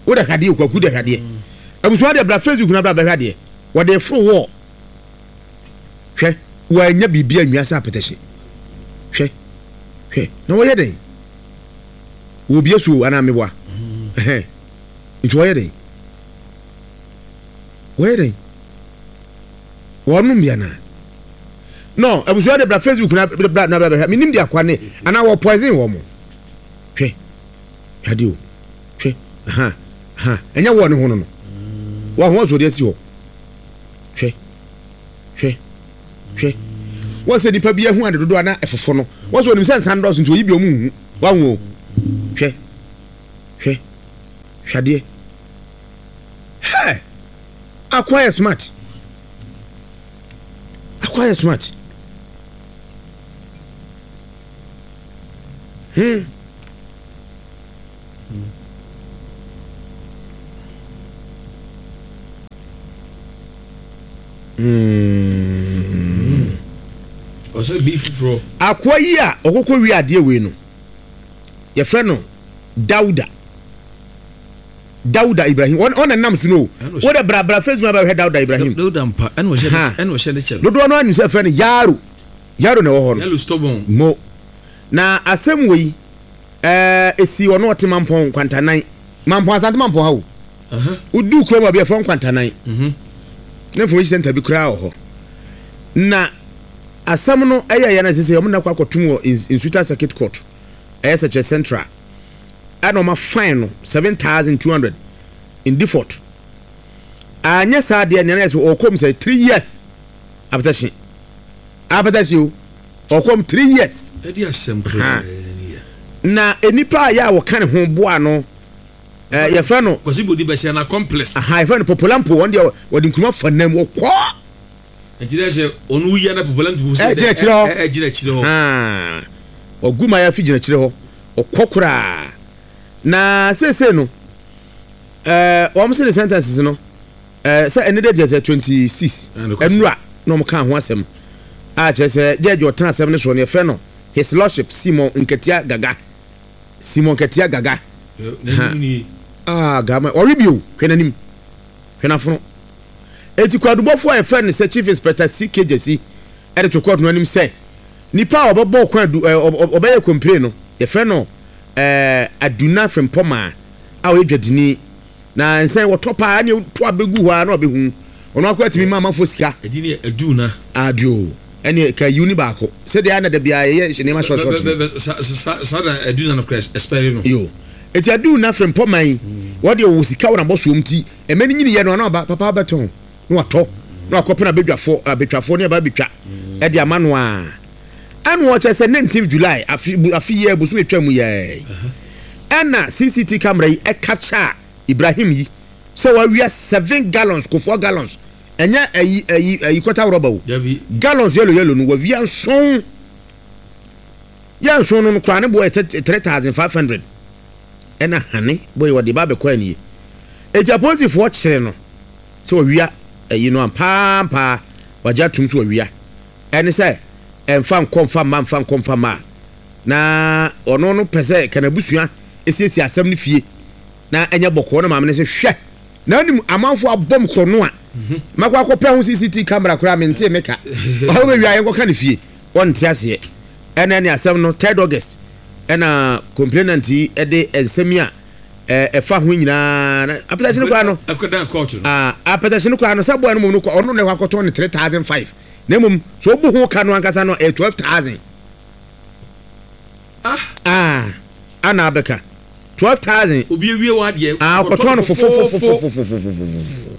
wode hwɛ adeɛ. Kwaku de hwɛ adeɛ. Abusua de bra Facebook na bra bɛhwɛ adeɛ. Wɔde foro wɔɔ, hwɛ, wɔanya biribi anwia sɛ apɛtɛhye. Hwɛ hwɛ, na wɔyɛ dɛn? Wɔbie so anaa meboa? Ɛhɛn, nti wɔyɛ dɛn? Wɔyɛ dɛn? Wɔnom bi anaa no? Abusua de bra Facebook na bra na bra bɛhwɛ. Menim de akwa ne anaa wɔ poison wɔ mo. Hwɛ hwɛ adeɛ o, hwɛ. Aha aha, ɛnyɛ wɔ ne ho no no wɔ ho ɔsɔ de asi hɔ. Hwɛ hwɛ hwɛ, wɔn sɛ nipa bi ehu ade dodo ana ɛfofo no, wɔn sɛ onim sɛ nsa ndɔɔso nti oyi bi ɔmo nhu wɔn o. Hwɛ hwɛ hwɛ adeɛ. Hɛ, akoa yɛ smart, akoa yɛ smart. Hmm. Mm. Ɔsɛ bi foforɔ. Akoa yi a ɔkɔkɔ wie adeɛ wei no, yɛfrɛ no Dauda. Dauda Ibrahim. Ɔn ɔna nam so no. Wo de bra bra Facebook abɛhwɛ Dauda Ibrahim. Dauda mpa ɛna ɔhyɛ ɛna ɔhyɛ ne kyɛ. Dodoɔ no anim sɛ yɛfrɛ no Yaro. Yaro na ɛwɔ hɔ no. Yaro stubborn. Mo. Na asɛm wei ɛɛ esi ɔno ɔte Mampɔn Nkwantanan. Mampɔn Asante Mampɔn ha o. Wodu kurom a bi yɛfrɛ Nkwantanan. Mhm. Ne information center bi koraa wɔ hɔ. Na asɛm no ɛyɛ yɛn sɛ sɛ ɔmo na kɔ akɔtum wɔ Nsuta Circuit Court. Ɛyɛ Sɛkyerɛ Central. Ɛna ɔma fine no seven thousand two hundred in default. Anyɛ saa deɛ nea yɛ sɛ ɔkɔm sɛ three years apɛtɛhye. Apɛtɛhye o. Ɔkɔm three years. Ɛdi asɛm koraa. Na enipa a yɛ a wɔka ne ho boa no ɛɛ yɛfrɛ no. Kwasi Bodi bɛhyɛ na accomplice. Aha, yɛfrɛ no Popolampo. Wɔn deɛ wɔde nkuruma fa nam wɔkɔ. Nti dɛ sɛ ɔno wuyia na Popolampo sɛ ɛgyina akyire hɔ. Ɛgyina akyire hɔ. Haa, ɔgu ma yɛafi gyina akyire hɔ. Ɔkɔ koraa. Na seesei no ɛɛ wɔn sɛ ne sentences no ɛɛ sɛ ɛne de gyɛ sɛ twenty six ɛnura na wɔn ka ho asɛm a kyerɛ sɛ judge ɔtena asɛm no soɔ no yɛfrɛ no His Lordship Simon Nketia Gaga. Simon Nketia Gaga. Ah, gama ɔre bio hwɛ n'anim hwɛ n'afono. Eti kwadubɔfo a yɛfrɛ no sɛ Chief Inspector C K Gyasi ɛde to court no anim sɛ nipa a ɔbɛbɔ kwan du ɛɛ ɔbɛyɛ kompire no yɛfrɛ no ɛɛ Aduna Frimpɔmaa a ɔyɛ dwadini na nsɛn wɔtɔ paa ne to abɛgu hɔ a na ɔbɛhu ɔno akɔ atumi ma amanfoɔ sika. Ɛdi ne Aduna. Adio ɛne ka yiw ni baako sɛdeɛ ana da biara yɛyɛ nneɛma short short no. Saa na Aduna no kora ɛspɛre no. Yo. Eti Aduna Frimpɔmaa yi wɔde ɔwɔ sika wɔ n'abɔsoɔ ti ɛmɛ ne nyini yɛ no ana ɔba papa abɛtɔn na watɔ na wakɔpɛ abɛdwafoɔ abɛtwafoɔ ne aba abɛtwa ɛde ama no a ɛna wɔkyerɛ sɛ nineteenth July afi afi yɛ bosom etwa mu yɛ ɛna C C T camera yi ɛcapture Ibrahim yi sɛ wawia seven gallons kofoɔ gallons ɛnyɛ ɛyi ɛyi ɛyi kɔta rɔba o gallons yellow yellow no wawia nson yɛ nson no koraa ne boɔ yɛ three thousand five hundred ɛna hane boy wɔde ba abɛkɔ anie eti apolisifoɔ kyerɛ no sɛ wawia ɛyi no ampaampa wagye atum so wawia ɛne sɛ ɛnfa nkɔ nfa mma nfa nkɔ nfa mma na ɔno no pɛ sɛ kanabusua esiesie asɛm no fie na ɛnyɛ bɔkɔɔ na maame no sɛ hwɛ na anim amanfo abɔm kɔ no a makɔ akɔpɛ ho C C T camera koraa mente meka ɔho bɛwia yɛnkɔka ne fie ɔnte aseɛ ɛna ne asɛm no third August ɛna complainant yi ɛde nsɛm a ɛfa ho nyinaa na apɛtɛhye no koraa no ah apɛtɛhye no koraa no sɛ boy no mu no ɔno na akɔtɔn ne three thousand five na mmom so obu ho ka no ankasa no ɛyɛ twelve thousand. Ah ah ana abɛka twelve thousand. Obi ewie wa deɛ. Ah ɔkɔtɔn no fofofofofofofofofofo.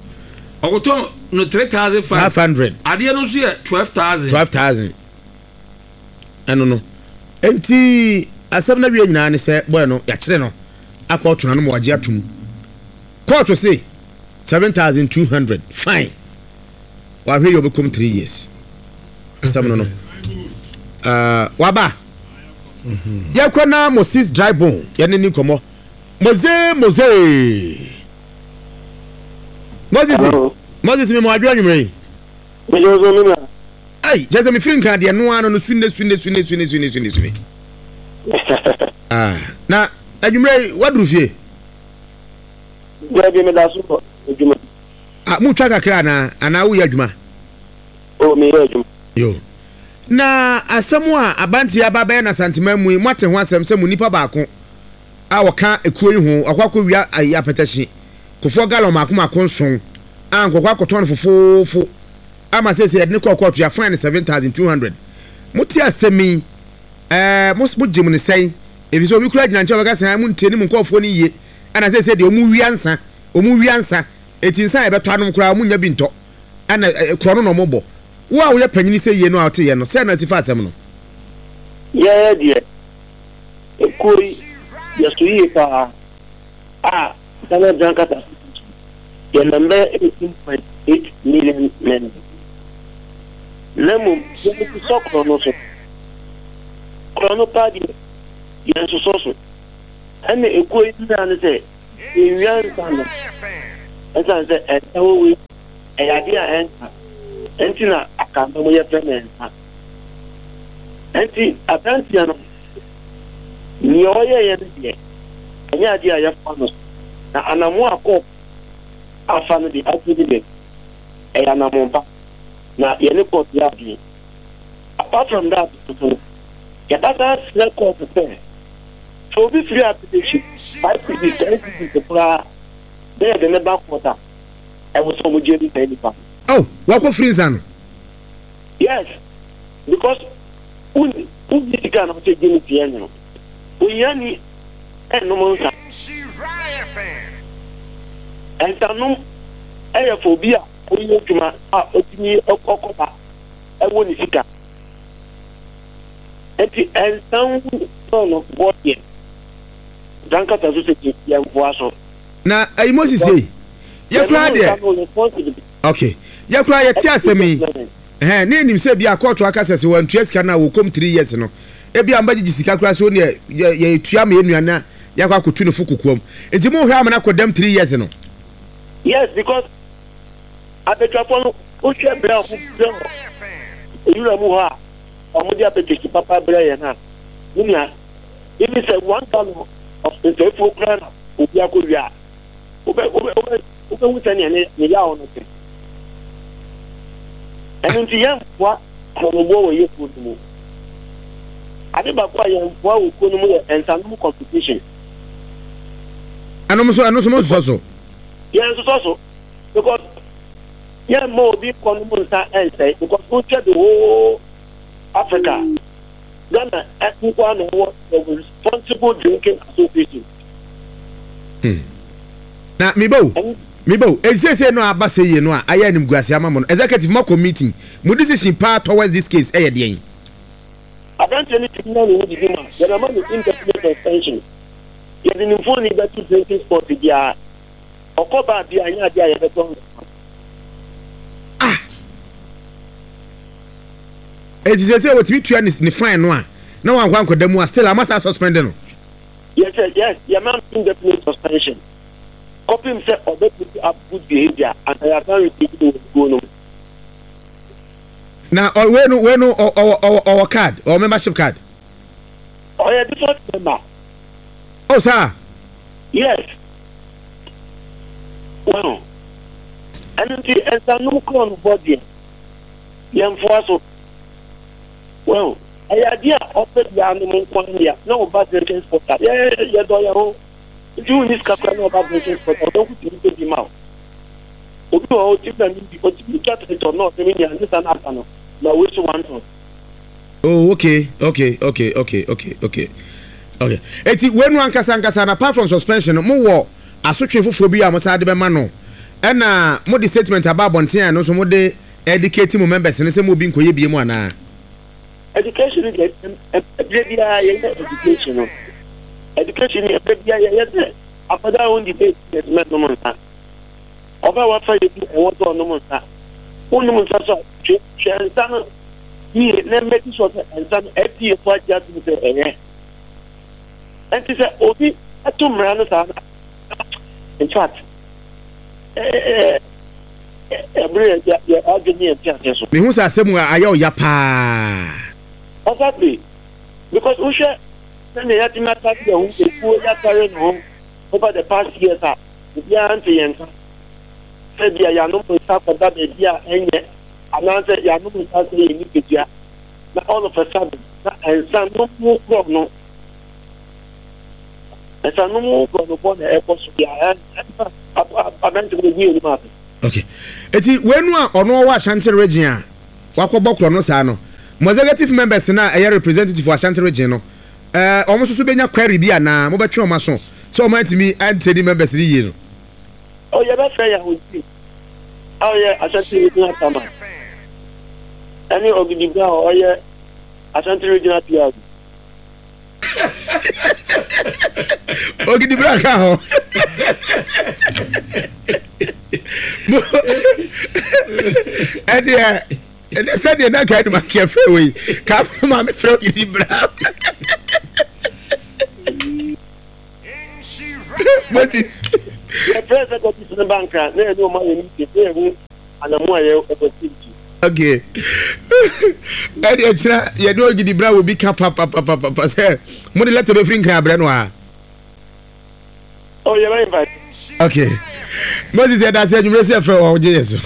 Ɔkɔtɔn no three thousand five hundred. Adeɛ no nso yɛ twelve thousand. twelve thousand. Ɛno no enti asɛm na wie nyinaa ne sɛ boy no yɛakyerɛ no akɔ ɔtona no ma wagye atum. Court se seven thousand two hundred fine. Wahwɛ yɛ ɔbɛkɔm three years. Asɛm no no. Uh, waba. Yɛkɔ na Moses dry bone yɛne ne nkɔmmɔ. Mose Mose. Moses. Moses me mo adwo anwumere yi. Me jo me na. Ai, jese me firi nkra deɛ no ano no sunne sunne sunne sunne sunne sunne sunne. Ah, na anwumere waduru fie. Deɛ bi me da so adwuma. Ah, mu twa kakra na ana wo yɛ adwuma. Oh, me yɛ adwuma. Yo. Na asɛm a abanti aba bɛyɛ na santima mu yi moate ho asɛm sɛ mu nipa baako a wɔka ekuo yi ho akɔ akɔwia ayi apɛtɛhye kofoɔ gallon mako mako nson a nkɔkɔ akɔtɔn fofofo ama sɛ sɛ yɛde ne kɔɔ kɔɔto yɛ fine seven thousand two hundred. Mote asɛm yi ɛɛ mo mo gye mu ne sɛn efi sɛ obi kura gyina nkyɛn wɔka sɛ mo ntie ne mu nkɔɔfoɔ no yie ɛna sɛ sɛ deɛ ɔmo wia nsa ɔmo wia nsa eti nsa yɛbɛtɔ anom koraa ɔmo nya bi ntɔ ɛna korɔ no na ɔmo bɔ. Wo a woyɛ panyini sɛ yie no a wote yɛ no sɛ na si fa asɛm no. Yɛyɛ deɛ ekuo yi yɛso yie paa a Ghana Drunkards Association yɛ number eighteen point eight million members. Na mmom yɛn sɔ korɔ no so. Korɔ no paa deɛ Yɛnsosɔ so. Ɛna ekuo yi nyinaa ne sɛ yɛnwia nsa no, ɛsiane sɛ ɛnsa wɔ wei ɛyɛ adeɛ a ɛnsa ɛnti na akamba mu yɛfrɛ no nsa. Ɛnti aberanteɛ no, nea ɔyɛeɛ no deɛ, ɛnyɛ adeɛ a yɛfa no so. Na anamo a court afa no de ato ne deɛ, ɛyɛ anamo pa, na yɛne court yɛ adwene. Apart from that nso no, yɛbɛsan srɛ court sɛ sɛ obi firi application five cedis, ten cedis koraa na yɛde ne ba court a, ɛwɔ sɛ ɔmo gye di saa nipa no. Oh, wakɔ firi nsa no? Yes, because wonni wonni sika na ɔsɛ gye ne tia nwono. Ohiani ɛnnom nsa. Nsanom ɛyɛ fɔ obi a ɔyɛ adwuma a ɔtumi ɔkɔba ɛwɔ ne sika. Nti nsa ho no bɔ deɛ, dankasa so sɛ yɛmfoa so. Na ayi, Moses, yi yɛkora deɛ, okay, yɛkora yɛte asɛm yi ɛhɛn ne enim sɛ bi a kɔɔto aka sɛ sɛ wɔntua sika no a, wɔkɔm three years no, ebi a mbɛgyegye sika koraa so neɛ yɛ yɛtua ma yɛnua na yɛakɔ akɔtu ne fo kokoam. Nti mo hwɛ amana kɔ dɛm three years no? Yes, because abadwafoɔ no, wohwɛ berɛ a ɔmo brɛ wɔ ewura mu hɔ a, ɔmo de apɛtɛsi papa brɛ yɛn a, ne nua, ebi sɛ one gallon of nsɛmfuo koraa na obi akɔ wie a, wobɛ wobɛ wobɛ wobɛhu sɛnea ne ne yaw no te. Ɛno nti yɛmfoa korɔnoboɔ wɔ yɛ kuo no mu. Ade baako a yɛmfoa wɔ kuo no mu yɛ nsanom competition. Ɛno nso ɛno nso mo nsosɔ so? Yɛn nsosɔ so, because yɛn mma obi nkɔ nom nsa ɛnsɛe, because wohwɛ the whole Africa, Ghana nkoa na ɛwɔ the Responsible Drinking Association. Na meba o, meba o. Esiesie no aba sɛ yie no a, ayɛ animguase ama mo no, executive mo akɔ meeting, mo decision paa towards this case ɛyɛ deɛn? Aberanteɛ no tumi na ne ho didi mu a, yɛbɛma no indefinite suspension. Yɛde ne mfoni bɛto drinking spot biara ɔkɔ baa bi a, nyɛ adeɛ a yɛbɛtɔ nsa. Ah, eti sɛ sɛ wɔtumi tua ne ne fine no a na wankɔ ankɔda mu a, still ama saa suspend no? Yes yes yɛma no indefinite suspension kɔpem sɛ ɔbɛ put up good behaviour and yɛasan retake no wɔ kuo no mu. Na ɔ wei no wei no ɔ ɔwɔ ɔwɔ ɔwɔ card, ɔwɔ membership card? Ɔyɛ default member. Oh, saa? Yes, well, ɛno nti nsanom korɔ no bɔ deɛ, yɛmfoa so. Well, ɛyɛ adeɛ a ɔpɛ biara nom nko ara na ɔba drinking spot a, yɛ yɛdɔ yɛn ho nti wonni sika koraa na ɔba drinking spot a, ɔdɔnko tumi pɛ bi ma wo. Obi wɔ hɔ, otumi na ne bi otumi twa tɛtɔ na ɔsɛ me nua ne sa na aka no ma wei so one ton. Oh, okay okay okay okay okay okay okay Eti wei no ankasa ankasa na apart from suspension no, mo wɔ asotwe foforɔ bi a mo san de bɛma no? Ɛna mo de statement aba abɔnten a, ɛno nso mo de educate mo members ne sɛ mo obi nkɔyɛ bie mu anaa? Education deɛ, ɛbere biara yɛyɛ education no. Education no, ɛbere biara yɛyɛ sɛ akwadaa a ɔndi eight years mɛnom nsa, ɔbaa wafa yɛ bi ɛwɔ sɛ ɔnom nsa, wonom nsa so a, hwɛ hwɛ nsa no yie na make sure sɛ nsa no F D A fo agye atom sɛ ɛyɛ. Ɛnti sɛ obi ɛto mmara no saa no, in fact, ɛɛ ɛbere yɛ yɛ adwene yɛn ti ase so. Mehu sɛ asɛm a ayɛ ɔya paa. Exactly, because wohwɛ sɛnea yɛatumi atare yɛn ho, ekuo yɛatare ne ho over the past years a, obiara nte yɛn nka sɛ bia yɛanom nsa kɔda baabi a ɛnyɛ, anaasɛ yɛanom nsa sɛ yɛ nipadua, na all of a sudden na nsa nom ho korɔ no, nsa nom ho korɔ no bɔ na ɛkɔ so bia ɛnfa aberante no egu yɛn anim ase. Okay, eti wei no a ɔno ɔwɔ Ashanti Region a wakɔbɔ korɔ no saa no, mo executive members na ɛyɛ representative wɔ Ashanti Region no, ɛɛ ɔmo nso so bɛnya query bi anaa mobɛtwe ɔmo aso sɛ ɔmo antumi antraining members no yie no? Ɔ yɛbɛfrɛ yɛn ahosi a ɔyɛ Ashanti Regional Chairman ɛne Ɔgidigba a ɔyɛ Ashanti Regional P R. Ogidibra ka ho. Ɛdeɛ ɛdɛ sɛdeɛ na ka adum akeɛ frɛ wei ka ma me frɛ Ogidibra. Moses. Yɛfrɛ executive no bank a na yɛne ɔma yɛ meeting na yɛhu anamu a yɛ ɛbɛsi. Okay. Ɛde ɛkyerɛ yɛde Ogidi bra wɔ bi ka papapapapa sɛ mo de letter bɛfiri Nkran abrɛ no a. Oh, yɛbɛ invite. Okay. Moses, yɛda ase adwumire sɛ ɛfrɛ wɔ wogye yɛ so.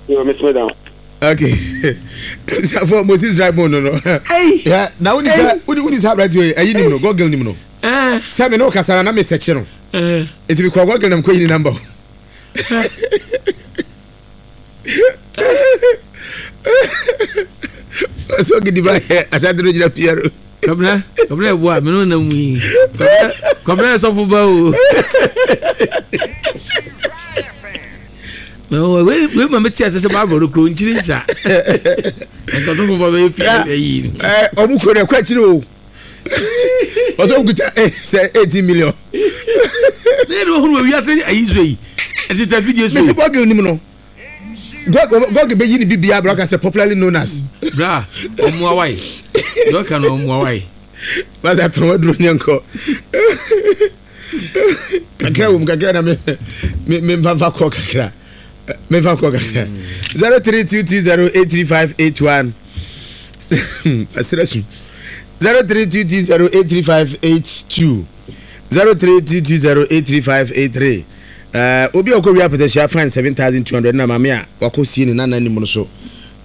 Yo, Miss Madam. Okay. For Moses drive no no. Yeah, na woni sɛ woni woni sɛ abrante yi ɛyi nim no, Google nim no. Sɛ me ne wo kasa na na me sɛkye no. Enti me kɔ Google na me kɔ yi ne number. So Ogidi bra Ashanti no gyina Piero. Kabra, kabra eboa me no na mu yi. Kabra sɔfo ba o. No, we we ma meti ase sɛ Bible no kuro nkyiri nsa. Nka sɔfo ba bɛyɛ pii ayi. Eh, ɔmo kuro no ɛkɔ akyiri o. Ɔsɛ okuta eh sɛ eighteen million. Ne de ohunu wiase ayi so yi. Ɛtete fidie so. Mesi Google nim no. Google bɛyi ne bibia bra ka sɛ popularly known as. Bra, ɔmo awai. Dɔka no ɔmo awai. Basa tɔn aduro nyɛ nkɔ. Kakra wom kakra na me me me mfa mfa kɔ kakra. Me mfa kɔ kakra. zero three two two zero eight three five eight one. Asira su. zero three two two zero eight three five eight two. zero three two two zero eight three five eight three. Uh, obi a ɔkɔ wia apɛtɛhyia fine seven thousand two hundred na maame a wakɔ sie ne nana anim no so.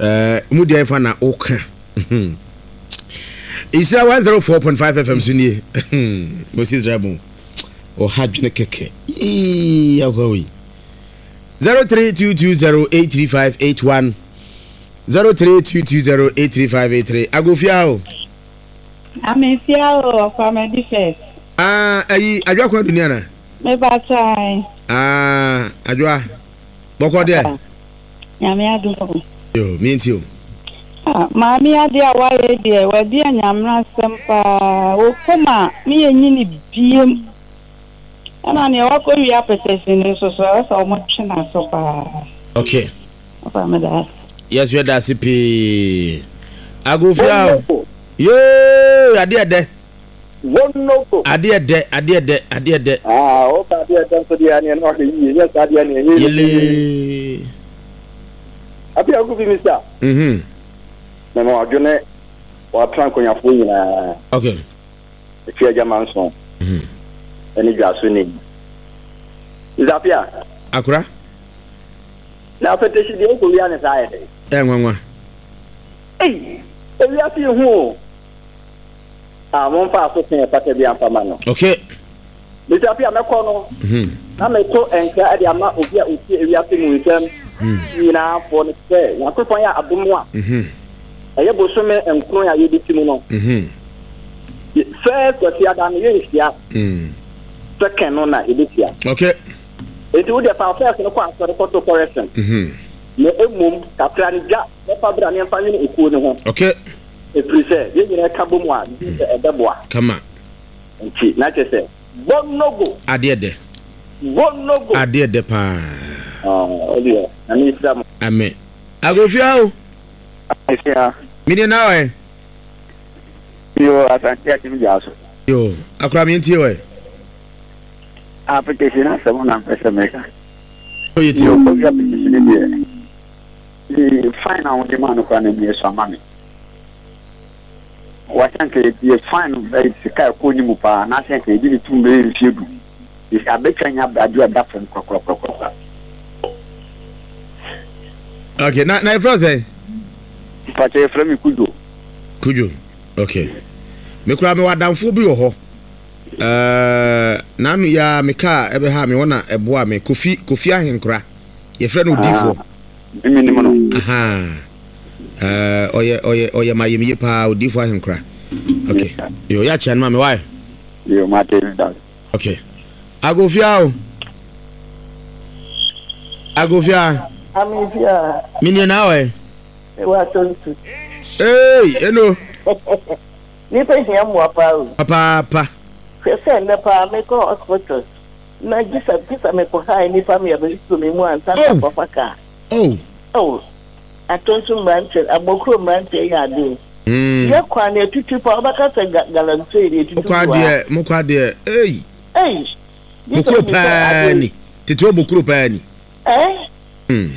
Uh, mu deɛ fa na ɔka. Isra one zero four point five F M so nie. Moses Drabo. Ɔha dwene kɛkɛ. Yee akɔ yi. zero three two two zero eight three five eight one. zero three two two zero eight three five eight three. Agofia o. Amefia o, Kwame First. Ah, ayi adwa kwa dunia na. Me ba tai. Ah, adwa. Bɔkɔ deɛ. Nyame adom. Yo, mi nti o. Ah, maame ade a waye deɛ, wadi anyamra asɛm paa. Wo koma me yɛ nyini biem. Ɛna nea wakɔ wia apɛtɛsi ne so so ɛsɛ ɔmo twe na so paa. Okay. Ɔfa me da. Yes, we da pii. Agofia o. Yo, ade ɛdɛ. Wonoko. Ade ɛdɛ, ade ɛdɛ, ade ɛdɛ. Ah, o ka ade ɛdɛ nso deɛ ne no ahwɛ yie, nyɛ saa deɛ ne ɛyɛ. Yele. Abi agu bi misa. Mhm. Na mo adwene wa tran konyafoɔ nyinaa. Okay. Efi agya manson. Mhm. Ɛne dwaso ne. Zapia. Akora. Na afetehyi deɛ okɔ wia ne saa yɛ dɛ. Eh nwanwa. Ei, ewia fi hu o. Ah, mo mfa aso kan pata bi amfa ma no. Okay. Zapia mɛkɔ no. Mhm. Na meto nkra de ama obi a otie ewia fi mu nsɛm. Nyinaa fo ne sɛ Nyankopɔn yɛ adom a. Mhm. Ɛyɛ bosome nkron a yɛdi ti mu no. Mhm. First kwasiada no yɛnhyia. Mm. Second no na yɛbɛhyia. Okay. Enti wo deɛ fa first no kɔ asɔre kɔto correction. Mhm. Na emom kakra ne gya bɛfa bra ne mfa nwene ekuo ne ho. Okay. Ɛfiri sɛ yɛn nyinaa ka bɔ mu a sɛ ɛbɛboa. Kama. Nti na kyerɛ sɛ bɔnogo. Adeɛ dɛ. Bɔnogo. Adeɛ dɛ paa. Ah, ɔdeɛ na ne nhyira mo. Amen. Agofia o. Agofia. Mini na ɔyɛ. Yo, asante atim gya so. Yo, akora mi ntie ɔyɛ. Application asɛm na mpɛ sɛ meka. Oye tie. Yo, obi application deɛ. Ee, fine na wode ma no kora na mi so ama me. Wasanka ye fine eh sika ko ni mu pa na sanka ye di tum be mfie du. Is abetwa nya abrade ada fam kokro kokro. Okay, na na ifra say. Pache ifra mi Kujo. Kujo. Okay. Me kura me wadamfo bi wo ho. Eh, na nu ya me ka ebe ha me wona eboa me Kofi Kofi Ahenkra. Ye frɛ no odifo. Mi ni mo no. Aha. Eh, oye oye oye mayem ye pa odifo Ahenkra. Okay. Yo ya chen ma me why? Yo ma te da. Okay. Agofia o. Agofia. Amifia. Mini na we. E wa tontu. Hey, eno. Ni pe hia mo apa o. Papa pa. Hwɛ sɛ nnɛ paa mekɔ hospital. Na gisa gisa mekɔ ha ni fa me abɛsu me mu ansa na papa ka. Oh. Oh. Atontu mranche, abokro mranche ya ade. Mm. Ye kwa na etutu pa obaka sɛ galamsey ni etutu. Mokɔ ade, mokɔ ade. Hey. Hey. Bokuro paa ni. Tete hɔ bokuro paa ni. Ɛɛ. Mm.